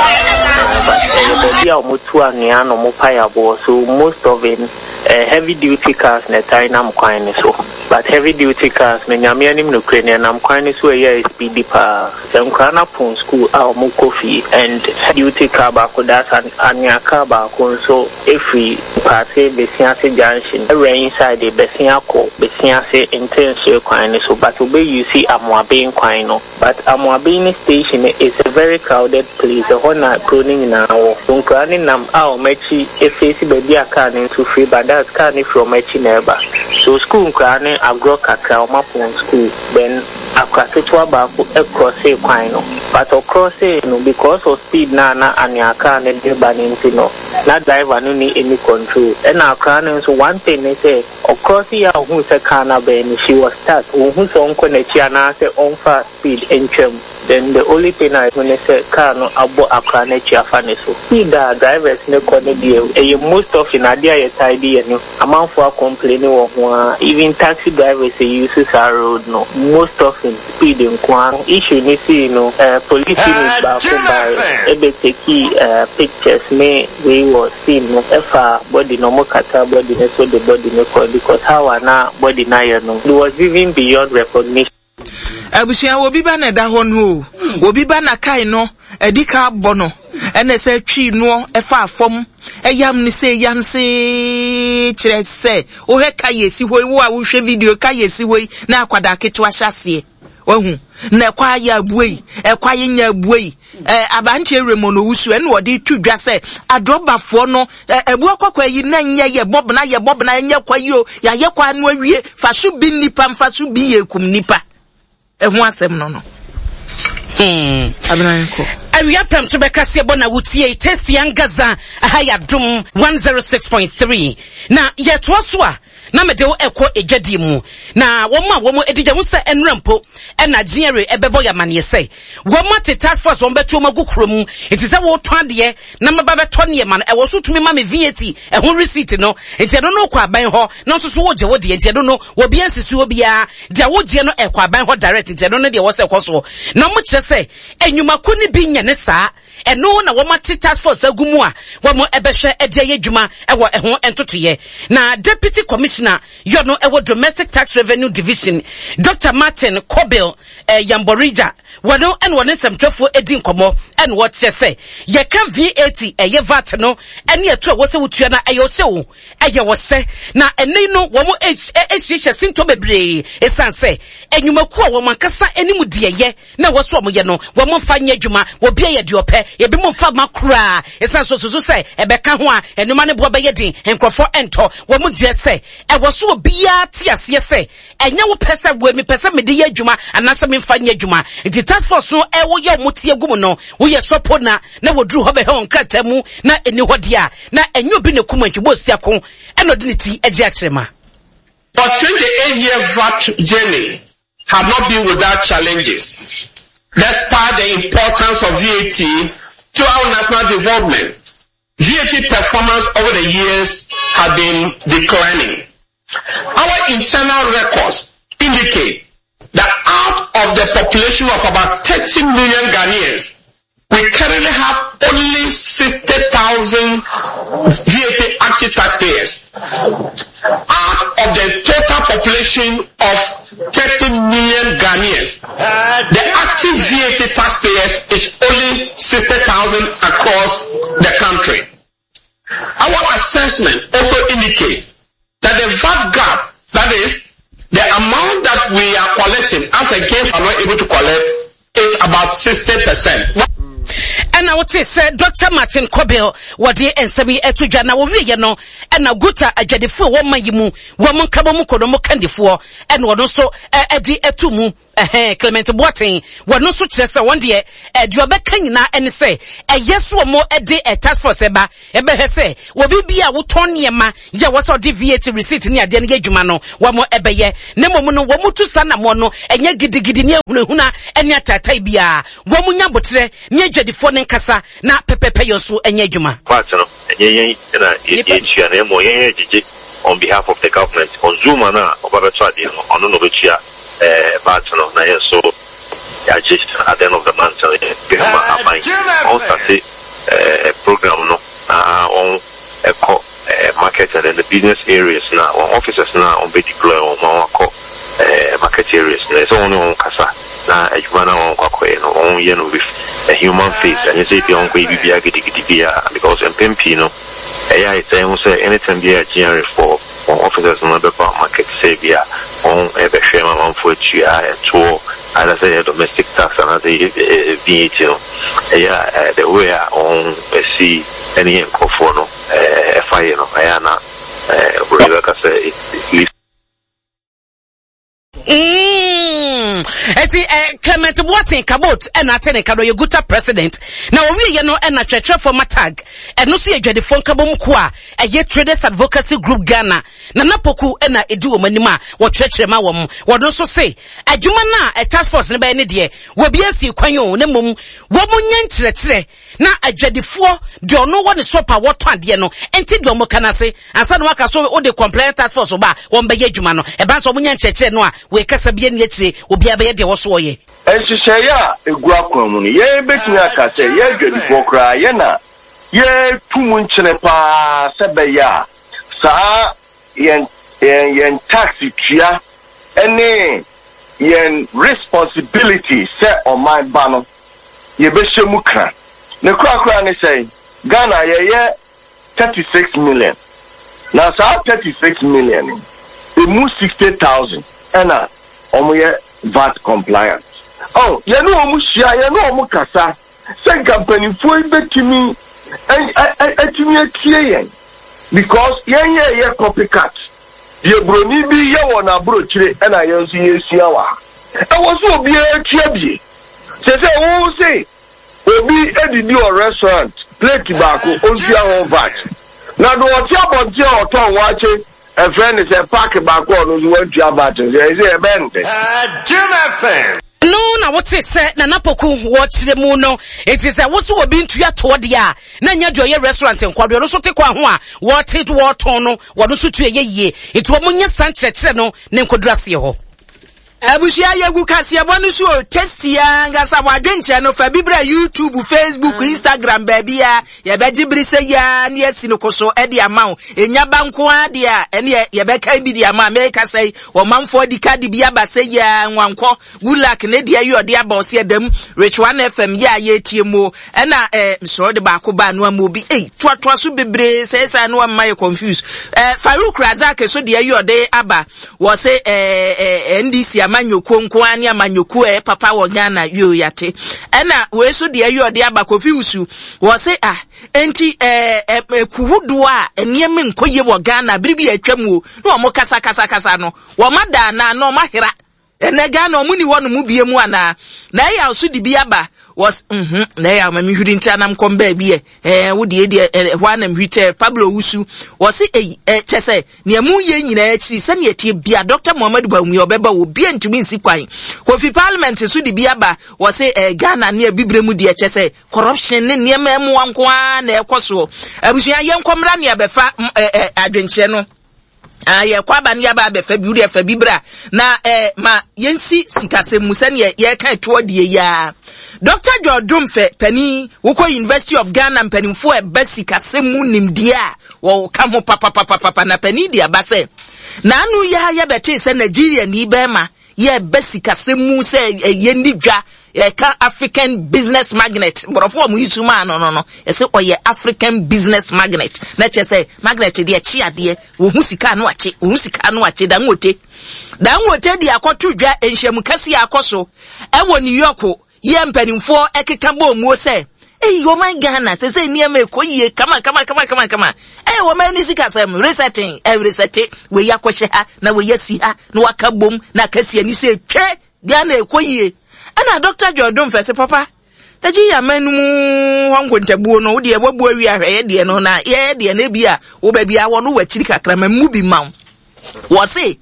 Ɛyɛ baabi a wɔtu anwea na wɔpae aboɔ so most of it eh, heavy duty cars na ɛtae nam kwan no so but heavy duty cars no Nyame anim nokorɛ ni ɛnam kwan no so ɛyɛ a ɛspeedi paa sɛ nkwadaa no apɔn school a wɔkɔ fie and heavy duty car baako that's an anwea car baako nso Efiri Mpaase Besiase junction ɛwura inside bɛsen akɔ Besiase Ntensoe kwan no so but wobɛ use Amoaben kwan no but Amoaben ne station no is a very crowded place ɛhɔ na kuro no nyinaa wɔ so nkoraa no nam a wɔn akyi face baabi a car no nso firi ba that's car no firi wɔn akyi na ɛba so school nkoraa no agorɔ kakra wɔn apɔn school then akora ketewa baako crossee kwan no but ɔcrossee no because of speed no a na anwea car no de ba no nti no na driver no nni any control ɛna akora no nso one thing ne sɛ ɔcrossee yɛ a ohuu sɛ car no abɛn no she was stuck onhu sɛ ɔnkɔ n'akyi anaasɛ ɔmfa speed ntwam then the only thing a ehu ne sɛ car no abɔ akora no akyi afa ne so. Speed a drivers no kɔ no deɛ ɛyɛ most often adeɛ a yɛtaa de yɛ no Amanfoɔ a complaini wɔ ho ara, even taxi drivers a use saa road no, most often speed nko ara. Issue no sii no, police unit baako bae ɛbɛ takii pictures ne wei wɔ scene no, ɛfaa body no, ɔmo kataa body no so de body no kɔe because how a na body no ayɛ no, it was even beyond recognition. Abusua obi ba na ɛda hɔ no o, obi ba na kae no adi ka abɔ no ɛna ɛsɛ twi noɔ ɛfa fam ɛyam ne sɛ yam se kyerɛ sɛ wohwɛ ka yɛ si hɔ yi wo a wohwɛ video ka yɛ si hɔ yi na akwadaa ketewa hyɛ aseɛ wahu na ɛkɔ ayɛ abue yi ɛkɔ ayɛ nya abue yi Ɛɛ aberanteɛ Raymond Owusu ɛna ɔde to dwa sɛ adrɔbafoɔ no ɛ ɛboɔ kɔkɔɔ yi na nyɛ yɛ bɔbena yɛ bɔbena ɛnyɛ kwa yi o yɛayɛ kwa no awie fa so bi nnipa mfa so bi yɛ kum nnipa ɛho asɛm no no. Hmm. Awia pɛm so bɛka seɛ bɔ na wotie Tasty Angaza aha yɛ adom 106.3 na yɛtoa so a na mede wo ɛkɔ adwadie mu na wɔn a wɔn adi dwa ho sɛ ɛnora mpo ɛna GRA ɛbɛbɔ yɛ amaneɛ sɛ wɔn ate task force wɔn bɛto wɔn agu kuro mu nti sɛ wɔretɔn adeɛ na maba bɛtɔ nneɛma no ɛwɔ so tumi ma me VAT ɛho receipt no nti ɛno no kɔ aban hɔ na nso so wogye wo deɛ nti ɛno no wɔbi ansisi obiara deɛ wogyeɛ no ɛkɔ aban hɔ direct nti ɛno no deɛ wɔ sɛ ɛkɔ soɔ na wɔn kyerɛ sɛ enyimako no bi nyɛ ne saa Ɛno na wɔate task force agu mu a wɔbɛhwɛ de ayɛ adwuma wɔ ɛho ntotoeɛ. Na Deputy Commissioner yɔ no wɔ Domestic Tax Revenue Division, Dr. Martin Kobil eh, Yamborija, wɔno ɛna wɔne nsɛmtwerɛfoɔ di nkɔmmɔ ɛna wɔkyerɛ sɛ yɛka VAT ɛyɛ VAT no ɛne ɛto a ɛwɔ sɛ wotua no ɛyɛ ɔhyɛ o ɛyɛ ɔhyɛ na ɛnɛ no wɔn ahyiahyia sintɔ bebree ɛsiane sɛ nnwumakuo a wɔn ankasa anim deɛ yɛ na ɛwɔ sɛ wɔyɛ no, wɔmfa nyɛ adwuma. Obiara yɛ deɛ ɔpɛ. Ebinom mfa mma koraa. Ɛsiane sɛ wɔsusu sɛ ɛbɛka ho a, nneɛma no boɔ bɛyɛ den, nkurɔfoɔ ntɔ. Wɔn deɛ sɛ, ɛwɔ sɛ obiara te aseɛ sɛ, ɛnyɛ wo pɛ sɛ wei mepɛ sɛ mede yɛ adwuma anaasɛ memfa nyɛ adwuma. Nti task force no ɛwɔ yɛ wɔn ti agu mu no, woyɛ sɔpo na na wɔduru hɔ bɛhwɛ wɔn nkrataa mu na ɛni hɔ deɛ a, na ɛnyɛ obi na ɛkum antwi bɔ osiako ɛna ɔde ne ti agye akyerɛma. Our 28-year VAT journey have not been without challenges. Despite the importance of VAT to our national development, VAT performance over the years have been declining. Our internal records indicate that out of the population of about 30 million Ghanaians, we currently have only 60,000 VAT active taxpayers. Out of the total population of 30 million Ghanaians, the active VAT taxpayers is only 60,000 across the country. Our assessment also indicates that the VAT gap, that is, the amount that we are collecting as against are not able to collect is about 60%. ɛna wote sɛ Dr. Martin Kobel wɔde nsɛm yi ɛto dwa na wɔwieɛ no ɛna Guta adwadifoɔ wɔn ma yi mu wɔn nkabɔ mu kɔ no wɔn kandifoɔ ɛna wɔn nso ɛde ɛto mu. Ɛhɛn, Clement Boateng, wɔno nso kyerɛ sɛ wɔn deɛ, deɛ ɔbɛka nyinaa ɛne sɛ, ɛyɛ so wɔn de task force ɛba, ɛbɛhwɛ sɛ obi bi a wotɔn nneɛma yɛ wɔ sɛ ɔde VAT receipt ne adeɛ no yɛ adwuma no, wɔn ɛbɛyɛ. Na mmom no, wɔn tu saa anammɔn no, ɛnyɛ gidigidi ne ahunahuna ne ataatae biara. Wɔn nya aboterɛ ne adwadifoɔ no nkasa na pɛpɛpɛ yɛ nso nyɛ adwuma. VAT no, ɛnyɛ yɛn na yɛtua na mmom yɛn yɛgyegye on behalf of the government. Consumer no a ɔba bɛtɔ adeɛ no, ɔno na ɔbɛtua VAT no na yɛn nso yɛagye at the end of the month no yɛde ama aban. Wɔn starte program no na wɔn kɔ market and then the business areas no a wɔn officers no a wɔn bɛ deploy wɔn ma wɔn akɔ market areas no ɛsɛ wɔn ne wɔn kasa na adwuma no a wɔn kɔ akɔyɛ no wɔn yɛ no with a human face ɛnyɛ sɛ ebia wɔn kɔ yɛ biribiara gidigidi biara because mpɛn pii no ɛyɛ a yɛtaa hu sɛ anytime biara GRA foɔ wɔn officers no bɛba market sɛ ebia wɔn ɛbɛhwɛ ma amanfoɔ atua ɛtoɔ either sɛ ɛyɛ domestic tax anaasɛ ɛyɛ VAT no ɛyɛ a the way a wɔn ɛsi ɛne yɛn nkorɔfoɔ no ɛfa yɛ no ɛyɛ a na oburoni bɛka sɛ it leaves. Mm. Eti eh, Clement Boateng Kabot ɛna ate ne ka no ɔyɛ Guta president. Na ɔwieɛ no ɛna kyerɛkyerɛfoɔ ma tag. Ɛno nso yɛ adwadifoɔ nkabom kuo a ɛyɛ Traders Advocacy Group Ghana. Nana Poku ɛna ɛdi wɔn anim a wɔkyerɛkyerɛ ma wɔn. Wɔn nso se adwuma no a task force no bɛyɛ ne deɛ wɔbi asi kwan o na mmom wɔn nyɛ nkyerɛkyerɛ Na adwadifoɔ, deɛ ɔno wɔ ne shop a wɔtɔn adeɛ no, nte deɛ wɔka no ase. Ansa na wɔaka so wode compliance task force ba a, wɔbɛyɛ adwuma no. Ɛba sɛ wɔnya nkyerɛkyerɛ no a, wei kasa bi ani akyire, obiara bɛyɛ deɛ ɛwɔ so ɔyɛ. Nhyehyɛeɛ a ɛgu akwan mu no, yɛn bɛtumi aka sɛ yɛn adwadifoɔ koraa yɛn na yɛretu mu nkyene pa ara sɛ ɛbɛyɛ a saa yɛn yɛn yɛn tax tua ne yɛn responsibility sɛ ɔman ba no yɛbɛhyɛ mu kra. Ne korakora ne sɛn? Ghana yɛyɛ 36 million. Na saa 36 million yi, ɛmu 60,000 ɛna wɔyɛ VAT compliant. Oh, yɛne wɔn hyia, yɛne wɔn kasa sɛ nka mpanimfoɔ yi bɛtumi atumi atie yɛn because yɛn yɛyɛ copycat. Deɛ buroni bi yɛ wɔ n'aburokyire ɛna yɛn nso yɛsua wɔ ha. Ɛwɔ sɛ obiara tua bie. Sese wo se obi didi wɔ restaurant plate baako ontua ho vat. Na do ɔte abɔnten a ɔtɔn waakye ɛfrɛ ne sɛ pack baako a ɔno nso wantua vat nso ɛyɛ sɛ ɛbɛn ne dɛ. Jim FM. No na wote sɛ Nana Poku wɔ kyerɛ mu no. Enti sɛ wo so obi ntua toɔ deɛ a, na nyɛ deɛ ɔyɛ restaurant nkoa, deɛ ɔno nso te kwan ho a wɔte wɔtɔn no, wɔno nso tua yɛ yie. Enti wɔn nyɛ saa nkyerɛkyerɛ no ne nkɔduru aseɛ hɔ. Abusua yɛgu kaseɛbɔ no so o, tasty ankasa, w'adwenkyerɛ no fa bi bra YouTube, Facebook, Instagram baabiara, yɛbɛgye bere sɛ yi ara ne yɛasi no koso de ama wo. Ɛnya ba nko ara deɛ a, ɛneɛ yɛbɛkan bi de ama. Mekasa yi, ɔmanfoɔ de kadi bi aba sɛ yi ara, nwankɔ, good luck ne deɛ yi ɔde aba ɔse ɛdam, Rich One FM yɛ a yɛretie mu o. Ɛna eh, mesrɛ wode baako ba no ama obi, ei, toatoa so bebree sɛe saa no amma yɛ confuse. Eh, Farouk Razak so deɛ yi ɔde aba, Wɔse eh NDC amanyɔkuo nko ara ne amanyɔkuo a ɛyɛ papa wɔ Ghana yoo yate. Ɛna wei so deɛ yɛ ɔde aba Kofi Wusu. Wɔse ah enti eh ɛku hodoɔ a nneɛma nkɔ yie wɔ Ghana bere bi a atwa mu o na wɔn kasa kasa kasa no wɔn ada anaa na wɔn ahera. Ɛnɛ Ghana wɔn ni hɔ nom bie mu anaa. Na ɛyɛ a so de bi aba wɔs mhm na ɛyɛ a ma me hwiri ntra nam kɔm baabi ɛ ɛɛ wo deɛ deɛ ɛhɔ a na mehwiri kyɛ Pablo Owusu wɔse eyi ɛ kyɛ sɛ Nea moreyɛ nyinaa akyiri, sɛnea ɛteɛ bia, Dɔkta Muhammadu Bawumia ɔbɛba o, obia ntumi nsi kwan. Kofi Parliament nso de bi aba, wɔse eh, Ghana ne abibire mu deɛ kyɛ sɛ corruption ne nneɛma mmoa nko ara na ɛkɔ soɔ. Abusua yɛnkɔ mmra ne abɛfa eh, eh, adwenkyerɛ no. Ah, yɛkɔ aba ne yɛaba abɛfa bi, wodeɛ fa bi bra na eh, ma yɛnsi sikasɛm mu sɛdeɛ yɛka ɛtoɔ deɛ yi ara. Dr. George Domfɛ panin, wokɔ University of Ghana mpanimfoɔ a ɛba sikasɛm mu nimdeɛ a Wɔka ho papapapapa na panin de aba sɛ, N'ano yi ara yɛbɛtee sɛ Nigeriani bɛrima yɛreba sikasɛm mu sɛ yɛnni dwa, yɛka African business magnet, borɔfo a wɔyi so maa no no no, yɛsɛ ɔyɛ African business magnet, na kyerɛ sɛ magnet deɛ ɛkye adeɛ, wɔhu sika ano akye, wɔhu sika ano akye, Dangote. Dangote de akɔto dwa nhyiamu kɛseɛ akɔ so ɛwɔ New York Yɛ mpanimfoɔ ɛkeka bɔɔ muo sɛ, Ei ɔman Ghana sesei nneɛma ɛkɔ yie kama kama kama kama kama. Ei ɔman ne sikasɛm resetting, ɛresɛte, wei akɔhyɛ ha na wei asi ha na waka bom na aka si ani sɛ twe. Ghana ɛkɔ yie. Ɛna Dr. Joy Domfɛ se papa, Agye yɛ aman no mu hɔ nkontabuo no, wodeɛ wabu awie ahwɛ yɛ deɛ no na yɛyɛ deɛ no ebi a wo baabi a wɔ no wɔ akyiri kakra ma mu bi ma wo. Wɔ se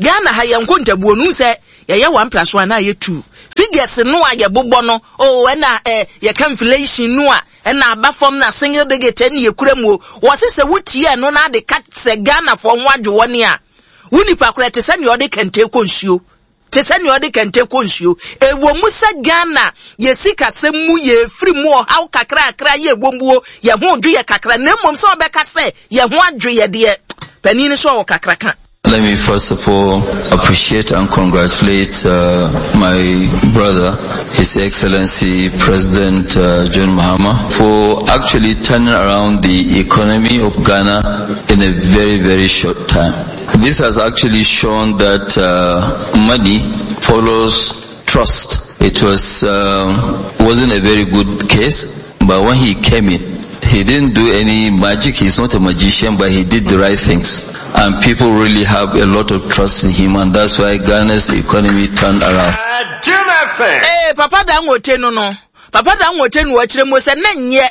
Ghana ha yɛ nkontabuo no sɛ yɛyɛ one plus one na yɛ two. Figures no a yɛbobɔ no, oh ɛna eh, yɛka inflation no a ɛna aba fam na single digit ɛne yɛkura mu o. Wɔ se sɛ wotie ɛno na ade ka sɛ Ghanafoɔ ho adwo wɔne a, wo nipa koraa te sɛ nea ɔde kɛntɛn kɔ nsuo. Te sɛ nea ɔde kɛntɛn kɔ nsuo. Ɛwɔ mu sɛ Ghana yɛ sikasɛm mu yɛrefiri mu ɔhaw kakrakra yɛ ɛwɔ mu o, yɛn ho redwo yɛ kakra na mmom sɛ ɔbɛka sɛ yɛn ho adwo yɛ deɛ, panin no sɛ ɔwɔ kakraka. Let me first of all appreciate and congratulate uh, my brother, His Excellency President uh, John Mahama, for actually turning around the economy of Ghana in a very, very short time. This has actually shown that uh, money follows trust. It was um, wasn't a very good case, but when he came in, he didn't do any magic. He's not a magician, but he did the right things. And people really have a lot of trust in him, and that's why Ghana's economy turned around. Hey, eh, Papa Dangote no no. Papa Dangote no wɔkyerɛ mu sɛ na nyɛ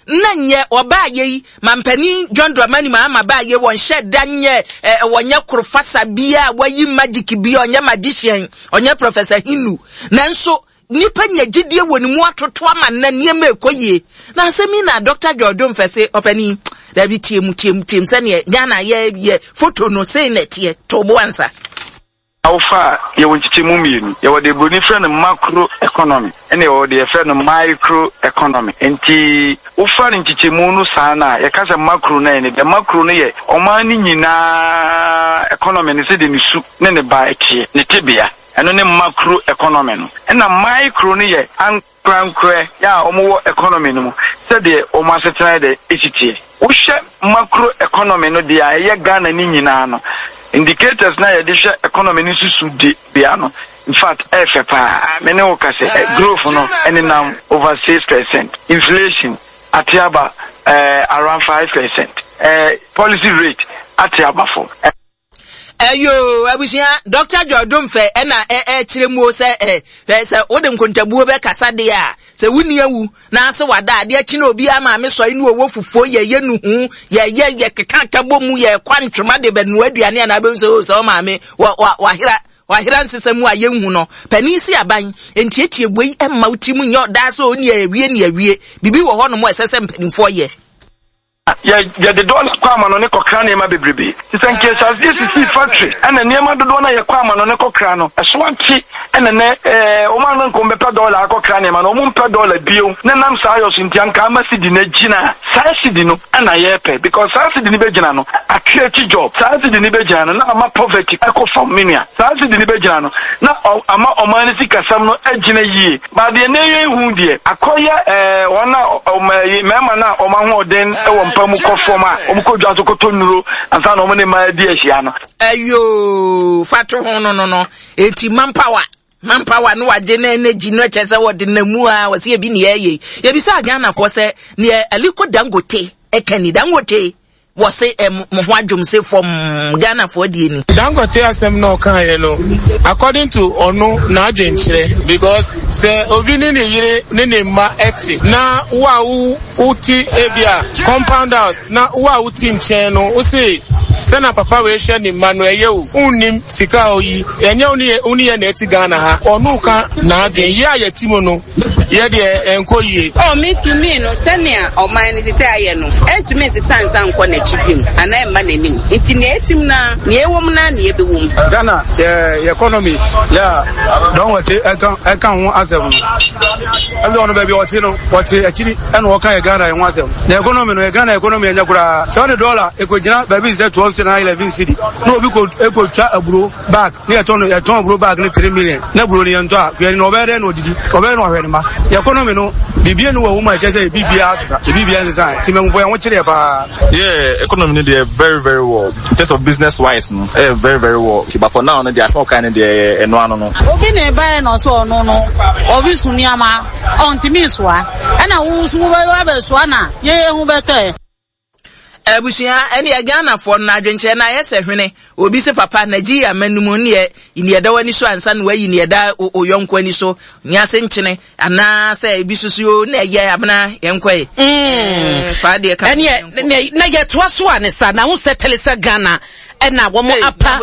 na nyɛ ɔbaa yɛ yi mampanin John Dramani Mahama baa yɛ wɔnhyɛ da nyɛ ɛ wɔnyɛ korofasa bia wɔayi magic bia ɔnyɛ magician ɔnyɛ Professor Hindu nanso nipa nya gyidie wɔ ne mu atoto ama na nneɛma ɛkɔ yie na asɛm yi na Dr. George Mfɛse ɔpanin dabi tie mu tie mu tie mu sɛdeɛ Ghana yɛ yɛ foto no sei na ɛteɛ to bo ansa. Awofa a, yɛwɔ nkyekyɛmu mmienu. Yɛwɔ deɛ buroni frɛ no macro economy ɛna yɛwɔ deɛ yɛfrɛ no micro economy. Nti wofa no nkyekyɛmu no saa no a, yɛka sɛ macro no a ɛne deɛ macro no yɛ ɔman no nyinaa economy no sɛdeɛ ne su ne ne ba teɛ, ne tebea. Ɛno ne macro economy no. Ɛna micro no yɛ Ankorankorɛ yɛ a wɔwɔ economy no mu sɛdeɛ wɔn asetena yɛ dɛ si teɛ. Wohwɛ macro economy no deɛ a ɛyɛ Ghana no nyinaa no, indicators no a yɛde hwɛ economy no susu de bea no, in fact ɛyɛ fɛ paa. Me ne wo ka sɛ growth no nenam over 6%, inflation ate aba around 5%, policy rate ate aba fam. Ɛyoo abusua Dr. Joy Domfɛ ɛna ɛkyerɛ mu o sɛ ɛ sɛ wode nkontabuo bɛkasa deɛ a sɛ wonni awu na ase wada adeɛ akyi na obi ama me sɔe ne ɔwɔ fufuo yɛyɛ nuhu yɛyɛ yɛkeka ka bɔ mu yɛkɔ ntwoma de bɛnoa aduane anaa bɛhu sɛ o sɛ ɔmaame wahera wahera nsesa mu a yɛnhu no panin si aban ntietie wei ɛmma wo ti mu nyɛ ɔdaa sɛ ɔni awie ne awie biribi wɔ hɔ nom a ɛsɛ sɛ mpanimfoɔ yɛ. Yɛ, yɛde dɔla kɔ amanɔne kɔkra nneɛma bebrebe. Te sɛ nka yɛhyɛ aseɛ sisii factory ɛna nneɛma dodoɔ no a yɛkɔ amanɔne kɔkra no, ɛso ate ɛna nɛ ɛɛ wɔn a na nka wɔbɛpɛ dɔla akɔkra nneɛma no, wɔn mpɛ dɔla bio. Na nam saa yɔ so nti anka ama cedi no agyina. Saa cedi no ɛna yɛpɛ because saa cedi no bɛgyina no, a create job. Saa cedi no bɛgyina no na ama poverty ɛkɔ fam me nua. Saa cedi no bɛgyina no na ɔ, ama ɔman no sikasɛm no agyina yie. Ba deɛ na ɛyɛ hu deɛ, akɔyɛ ɛɛ wɔn a wɔn ɛyi mmarima no a wɔn ahoɔden wɔ mpa mu kɔ fam a wɔkɔ dwa so kɔtɔ nnuro ansa na wɔn ne mmaa adi ahyia no. Ayoo fa to ho no no no eti manpower manpower no wagye na energy no ɛkyɛ sɛ wɔde na mu a wɔsi ebi ne ɛyɛ yɛbisa Ghanafoɔ sɛ neɛ Aliko Dangote ɛka ni Dangote Wɔse eh, mo ho adwom se fɔmm Ghanafoɔ deɛ ni. Dangote asɛm na ɔkaeɛ no according to ɔno n'adwenkyerɛ because sɛ obi ne ne yere ne ne mma ɛte na wo a wo wote ebia compound house na wo a wote nkyɛn no wo se sɛ na papa wei hwɛ ne mma no ɛyɛ o wonnim sika a ɔyi ɛnyɛ wo ne wo ne yɛ na ɛte Ghana ha ɔno ka n'adwen yɛ a yɛte mu no Yɛ deɛ ɛnkɔ yie. Oh, me to me no, sɛnea ɔman no te sɛ ayɛ no, ɛntumi nsesa nsa nkɔ n'akyi bio anaa ɛmma n'anim. Nti nea etim no ara, nea ɛwom no ara na yɛbɛwɔ mu. Ghana yɛ yɛ economy yɛ a Dangote ɛka ɛka ho asɛm no ɛbi ɔno baabi ɔte no ɔte akyiri ɛna ɔka yɛ Ghana yɛ ho asɛm na economy no yɛ Ghana economy ɛnyɛ koraa sɛ ɔde dɔla ekogyina baabi sɛ 12 cedi na 11 cedi na obi ko ekotwa aburo bag Ne yɛtɔn no yɛtɔn aburo bag no three million na aburo no yɛntɔ a kuani no ɔbɛyɛ dɛn na ɔdidi ɔbɛyɛ na ɔhwɛ ne mma yɛ economy no biribi enu wɔ mu a ɛkyɛ sɛ biribiara asesa biribiara nsesa nti mɛmufo yɛn ho kyerɛ paa. Yeah, economy no deɛ very very well in terms of business wise no ɛyɛ very very well but for now no deɛ asɛm ɔkae no deɛ ɛno ano no. Obi na ɛbaeɛ na ɔsɛ ɔno no ɔbi so nneɛma ɔntumi nsoa ɛna wo nso wobɛsoa na yɛyɛ ho bɛtɔɛ. Abusua ɛneɛ Ghanafoɔ no adwenkyerɛ no ayɛ sɛ hwene obi se papa Nigeria man no mu neɛ neɛ ɛda w'ani so ansa na wayi neɛ ɛda oyɔnko ani so nyɛ ase nkyene anaa sɛ ebi soso o na ɛyɛ abena yɛnkɔe mm. fa deɛ ka ɛneɛ na yɛtoa so a ne sa na ho sɛ tele sɛ Ghana ɛna wɔn apa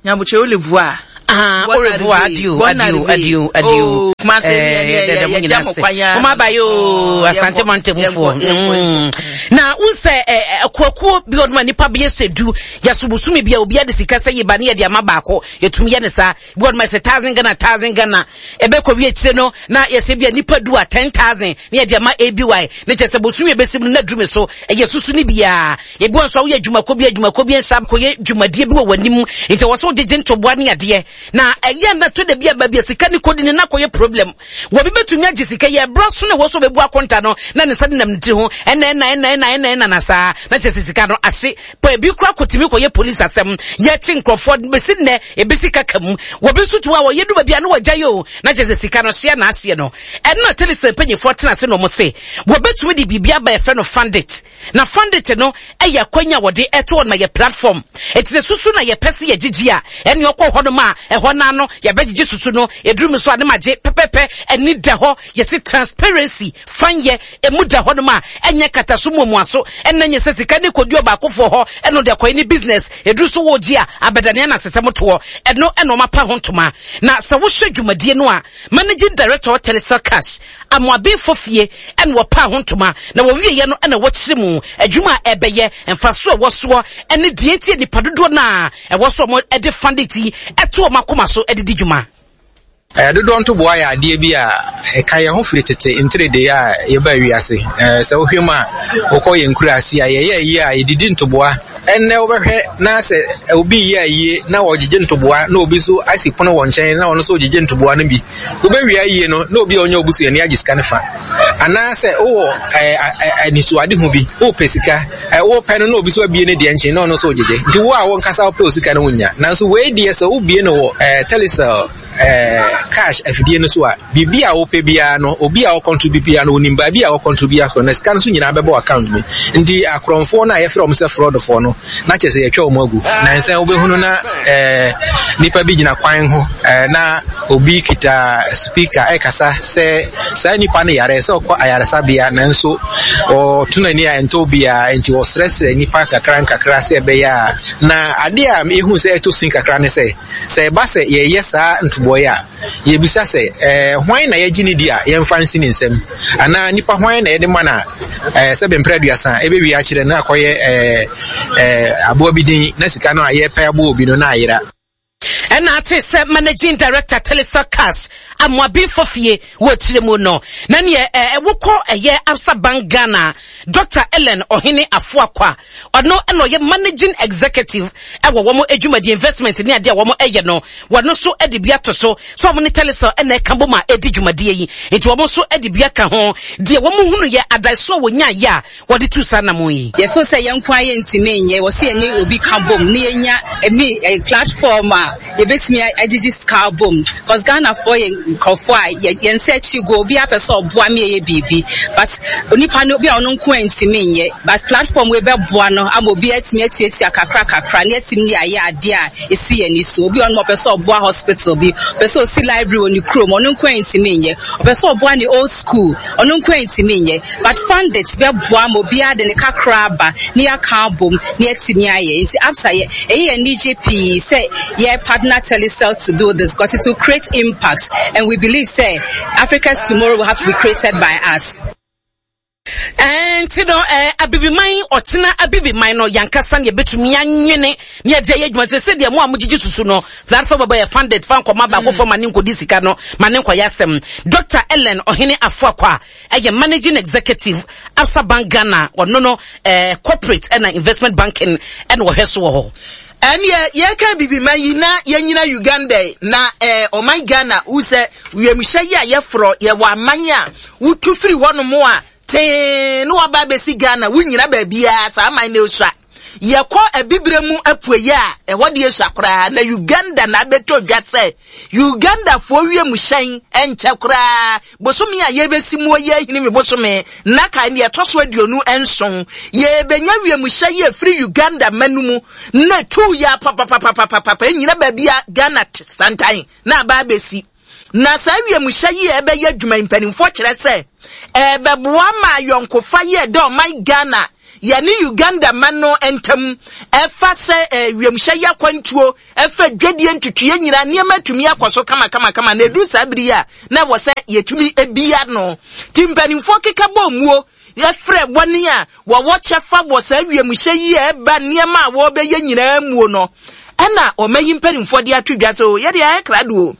Nyabokyɛ au revoir. Ah, au revoir, adieu, adieu, adieu, adieu. Oh, Kumase eh, eh, mo nyina se. Mo aba yo, oh, Asante Mantemufoɔ. Mm. Na wo sɛ eh, akuakuo bi ɔdoma nipa bi yɛ du, yɛsobosome bi a obi ade sika sɛ yeba ne yɛde ama baako, yɛtumi yɛ ne saa. Bi ɔdoma sɛ thousand Ghana, thousand Ghana. Ɛbɛkɔ wie akyire no, na yɛsɛ bi a nipa du a 10,000 ne yɛde ama ABY. Ne kyɛ sɛ bosome ɛbɛsi mu no na duru me so, ɛyɛ susu ne biara. Ebi wɔ nso a woyɛ adwumakuo bi adwumakuo bi nsa kɔyɛ dwumadie bi wɔ w'anim nti ɛwɔ sɛ wogyegye ntoboa ne adeɛ na ɛyɛ na to da bi a baabi a sika ne kɔdi ne na kɔyɛ problem wɔbi bɛtumi agye sika yɛ ɛberɛ so na ɛwɔ so bɛbu akonta no na ne nsa denam ne tiri ho ɛna ɛna ɛna ɛna ɛna ɛna na saa na kyerɛ sɛ sika no ase pa ebi kora kɔtumi kɔyɛ polisi asɛm yɛkye nkurɔfoɔ bɛsi nnɛ ebi sika ka mu wɔbi nso tumi a wɔyɛ du baabi a ne wɔgya yɛ o na kyerɛ sɛ sika no hyeɛ na ahyeɛ no ɛno na telecel mpanyinfoɔ tena ase na wɔn se wɔbɛtumi de biribi aba yɛfrɛ no fundit Na Fundit no yɛ akwanya a wɔde to hɔ no ma yɛ platform. Enti sɛ susu na yɛpɛ sɛ yɛgyegye a, ɛnneɛ ɔkɔ hɔnom a, ɛhɔ no ara no yɛbɛgyegye susu no. Ɛduru me so a, ne magye pɛpɛpɛ. Ani da hɔ. Yɛse transparency, fanyɛ, ɛmu da hɔnom a, ɛnyɛ nkataso muamuaso, ɛnna nyɛ sɛ sika no rekɔdi ɔbaakofoɔ hɔ ɛna ɔde akɔyɛ ne business. Ɛduru so woregye a, abɛdane anasesɛm toɔ. Ɛno na wɔapa ho ntoma. Na sɛ wohwɛ dwumadie no a, Managing Director wɔ Telecel Cash, Amoabenfo fie na wɔpaa ho ntoma, na wɔwieeɛ no na wɔkyerɛ mu adwuma a ɛbɛyɛ, mfasoɔ a ɛwɔ soɔ ne deɛ nti a nnipa dodoɔ no a ɛwɔ so a wɔde fande ti to wɔn akoma so de di dwuma. Dodoɔ ntoboa yɛ adeɛ bi a ɛka yɛn ho firi tete ntiridee a yɛbaa wiase. Sɛ wohwɛ mu a, wokɔ yɛn nkuraase a, yɛyɛ ayie a yɛdidi ntoboa. Ɛnnɛ wobɛhwɛ na sɛ obi reyɛ ayie na ɔgyegye ntoboa na obi nso asi pono wɔ nkyɛn na ɔno nso ɔgyegye ntoboa no bi. Wobɛwie ayie no na obi a ɔnyɛ obusuani agye sika no fa. Anaasɛ wowɔ anisoadehu bi, wopɛ sika, wopɛ no na obi nso abie ne deɛ nkyɛn na ɔno nso ɔgyegye. Nti wo a wonkasa wopɛ wo sika no wonnya. Nanso wei deɛ sɛ wobie no wɔ Telecel cash afidie no so a, biribi a wopɛ biara no, obi a ɔcontribute biara no, onim baabi a ɔcontribute akɔ, na sika no nso nyinaa bɛbɔ account mu. Nti akorɔmfoɔ no a yɛfrɛ wɔn sɛ fraudfoɔ no, na kyerɛ sɛ yɛatwa wɔn agu. Nansa wobɛhunu na eh, nipa bi gyina kwan ho eh, na obi kita speaker ɛkasa sɛ saa nipa no yare sɛ ɔkɔ ayaresabea nanso ɔto n'ani a ɛntɔ obiara nti wɔsrɛsrɛ nipa kakra nkakra sɛ ɛbɛyɛ a na adeɛ a ehu sɛ ɛtɔ sin kakra ne sɛ Sɛ ɛba sɛ yɛreyɛ saa ntoboa yi a, yebisa sɛ, Ɛɛ, hwan na yɛgye no di a yɛmfa nsi ne nsam? Anaa nipa hwan na yɛde ma no a, ɛɛ, sɛbe mpere aduasa ebewie akyerɛ no akɔyɛ ɛɛ, ɛɛ, aboa bi din na sika no a yɛrepɛ aboa obi no na ayera? Ɛna ate sɛ Managing Director Telecel Cash Amoabenfo Fie wɔ tire mu no, na neɛ ɛɛ, wokɔ ɛyɛ Absa Bank Ghana, Dr. Ellen Ɔhene Afoakwa, Ɔno na ɔyɛ managing executive wɔ wɔn adwumadie investment ne adeɛ a wɔn yɛ no. Wɔn nso de bi ato so sɛ wɔn ne Telecel na ɛka bom a ɛdi dwumadie yi. Nti wɔn nso de bi aka ho. Deɛ wɔn hunu yɛ adaeso a wɔnyaeɛ a wɔde tu saa anamon yi. Yɛ feel sɛ yɛn nko ara yɛntumi nyɛ, wɔ sɛ yɛne obi ka bom na yɛnya ɛmi platform a yɛbɛtumi agyegye sika abom cause Ghanafoɔ yɛ nkurɔfoɔ a yɛn nsa akyi go, obiara pɛ sɛ ɔboa me yɛyɛ biribi but onipa no obi a ɔno nko a ntumi nyɛ but platform wei bɛboa no ama obiara atumi atuatua kakra kakra na yɛatumi de ayɛ adeɛ a ɛsi yɛn ani so. Obi a ɔno ɔpɛ sɛ ɔboa hospital bi, ɔpɛ sɛ ɔsi library wɔ ne kurom, ɔno nko a ntumi nyɛ, ɔpɛ sɛ ɔboa ne old school, ɔno nko a ntumi nyɛ but fundit bɛboa ma obiara de ne kakra aba na yɛaka abom na yɛatumi ayɛ. Nti Absa yɛ ɛyɛ yɛn anigye pii sɛ yɛ partner Telecel to do this because it will create impact and we believe sɛ Africa's tomorrow will have to be created by us. Nti no eh, abibiman ɔkyena abibiman no yankasa ne yɛbɛtumi anwene ne yɛde ayɛ adwuma sɛ sɛdeɛ mo a mogyegye susu no platform bɛbɔ yɛ funded fa nkɔma baakofoɔ ma ne nkɔdi sika no ma ne nkɔyɛ asɛm. Dr. Ellen Ɔhene Afoakwa ɛyɛ managing executive Absa Bank Ghana ɔno no eh, corporate ɛna investment banking ɛna ɔhwɛ so wɔ hɔ. Ɛneɛ yɛka bibiman yi na yɛnyina Uganda yi na eh, ɔman Ghana wo sɛ wiemhyɛ yi a yɛforɔ yɛwɔ aman a wotu firi hɔnom a tee na waba abɛsi Ghana wonyina baabiara saa aman no esua. Yɛkɔ Abibire mu apueɛ a, ɛhɔ deɛ sua koraa, na Uganda na abɛtɔ dwa sɛ Ugandafoɔ wiemhyɛn nkyɛ koraa. Bosome a yɛrebɛsi muo yi Ahinime bosome nnaka deɛ ɛtɔ so 27, yɛrebɛnya wiemhyɛn yi afiri Uganda ma no mu na ɛtuu yɛ papapapapapa ɛnyina baabi a Ghana te santan na aba abɛsi. Na saa wiemhyɛn yi a ɛbɛyɛ adwuma yi mpanimfoɔ kyerɛ sɛ ɛbɛboa ma ayɔnkofa yi a ɛda ɔman Ghana yɛne Uganda man no ntam ɛfa sɛ eh, wiemhyɛn yi akwantuo ɛfa dwadie ntutuiɛ nyinaa nneɛma atumi akɔ so kamakamakama na ɛduru saa bere yi a na ɛwɔ sɛ yɛtumi bia no nti mpanimfoɔ keka bɔ muo yɛfrɛ wɔn a wɔwɔ kyɛfa wɔ saa wiemhyɛn yi a ɛba nneɛma a wɔrebɛyɛ nyinaa muo no ɛna ɔma yi mpanimfoɔ de ato dwa sɛ o yɛde ayɛ krado o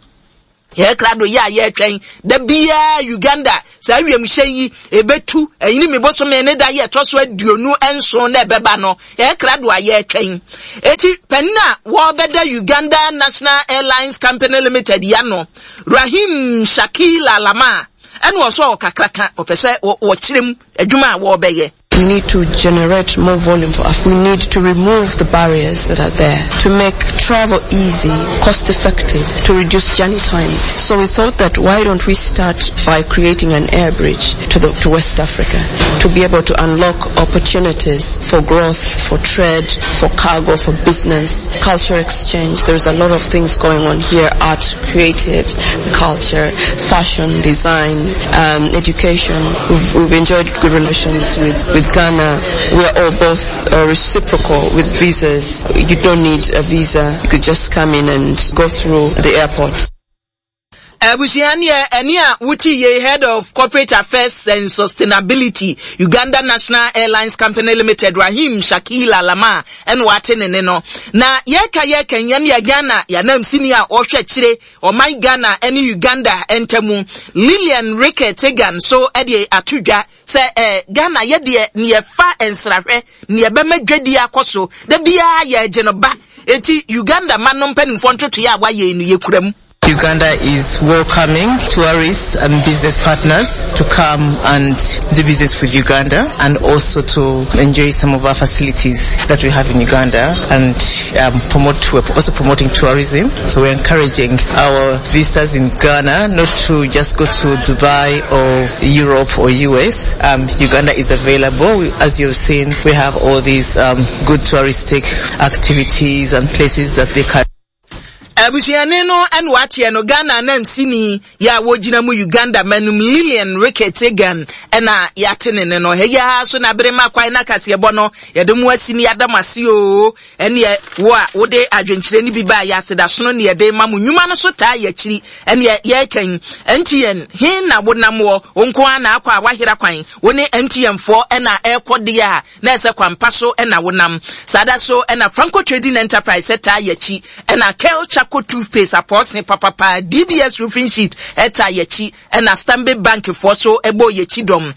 yɛyɛ krado yɛ a yɛretwɛn da biara Uganda saa wiemhyɛn yi ɛbɛtu ɛnyini mi bosome ne da yɛ ɛtɔ so 27 na ɛbɛba no yɛyɛ krado a yɛretwɛn eti panin a wɔbɛda Uganda National Airlines Company Limited ya no Rahim Shakil Alama ɛna ɔsɔ ɔkakraka ɔpɛ sɛ wɔkyerɛ mu adwuma a wɔrebɛyɛ. We need to generate more volume for us. We need to remove the barriers that are there to make travel easy, cost effective, to reduce journey times. So we thought that why don't we start by creating an air bridge to, the, to West Africa to be able to unlock opportunities for growth, for trade, for cargo, for business, culture exchange. There's a lot of things going on here, art, creatives, culture, fashion, design, um, education. We've, we've enjoyed good relations with, with Ghana. We are all both uh, reciprocal with visas. You don't need a visa. You could just come in and go through the airport. Abusua neɛ ɛne a wote yei Head of Corporate Affairs and Sustainability, Uganda National Airlines Company Limited, Rahim Shakil Alama ɛna wate ne ne no. Na yɛka yɛka yɛn yɛ Ghana yɛanam sini a ɔhwɛ akyire ɔman Ghana ɛne Uganda ntamu Lillian Ricketts Egan so ɛde ato dwa sɛ eh, Ghana yɛ deɛ neɛ fa nsrahwɛ neɛ bɛma dwadie akɔ so da biara yɛgye no ba eti Uganda ma no mpanimfoɔ ntotoeɛ a wayɛ no yɛkura mu. Uganda is welcoming tourists and business partners to come and do business with Uganda and also to enjoy some of our facilities that we have in Uganda and um, promote, we're also promoting tourism. So we're encouraging our visitors in Ghana not to just go to Dubai or Europe or US. Um, Uganda is available. We, as you've seen, we have all these um, good touristic activities and places that they can Abusuani no na wateɛ no Ghana anamsini yɛ a wɔgyina mu Uganda manum Lillian Ricketts Egan na yɛate ne ne no. Ɛyɛ ara so na bere ma kwan na kaseɛbɔ no yɛde mo asi ne yɛada mo ase oo. Ɛneɛ wo a wode adwenkyerɛ no bi baa yɛ asedasono ne yɛde ma mo nnwuma no so taa yɛakyiri ɛneɛ yɛreka yi. MTN he na wonam wɔ wo nko ara na akɔ a wahera kwan wo ne MTN foɔ na ɛrekɔ deɛ a na ɛsɛ kwampa so na wonam. Saa da so na Franco Trading Enterprise taa yɛakyi, ɛna Kel Charcoal Toothpaste apɔɔse papapa, DBS Roofing Sheet taa yɛakyi, ɛna Stanbic Bank foɔ so bɔɔ yɛakyi dɔm.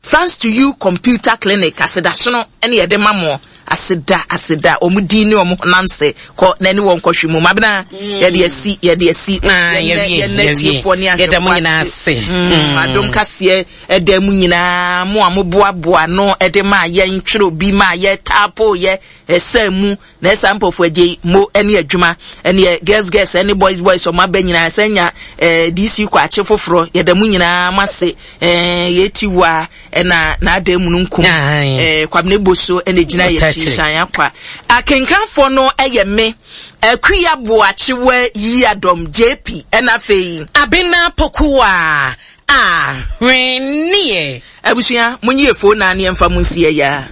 Thanks to you Computer Clinic, asedasono ne yɛde ma mo. Aseda, aseda, wɔn din ne wɔn honam sɛ kɔ na ɛne wɔn kɔhwe mu. Mabena, mm. yɛde asi, yɛde asi. Ah, yɛn nɛ tiefoɔ ne ahwɛfoɔ ase. Mm. Adom kaseɛ ɛda mu nyinaa mo a moboaboa ano de maa yɛn twerɛ bi maa yɛ taapo yɛ ɛsɛ mu na ɛsa mpɔfo agye mo ɛne adwuma ɛne girls girls ɛne boys boys ɔmo aba nyinaa ɛsɛ nya ɛɛ DC kɔ akye foforɔ yɛda mu nyinaa mo ase ɛɛ yɛti wa ɛna n'adan mu no nkum ɛɛ Kwabena Boso ɛna gyina yɛ akyi hyɛn akwa akenkanfoɔ no ɛyɛ me Akuya Boakyewa Yiadom JP ɛna afei. Abena Pokuwa Ahweneɛ. Abusua, monyi efoo naa ne yɛmfa mo nsi ɛyɛ a.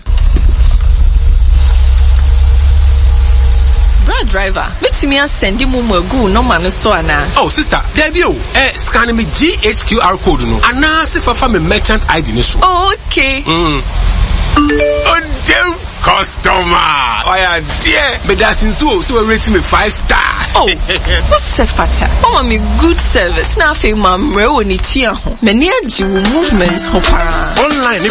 Bra driver, mɛtumi asɛnde momo agu wo nɔma no so anaa? Oh sister, daabi o, eh, scan me GHQR code no anaa se fa fa me merchant ID no so. Oh, okay. Mm. Odem! Customer! Ɔyɛ adeɛ! Medase nso o sɛ wa rate me 5 star. Oh, wo sɛ fata. Wama me good service na afei mammrɛ wɔ ne tua ho. M'ani agye wo movement ho paa. Online ne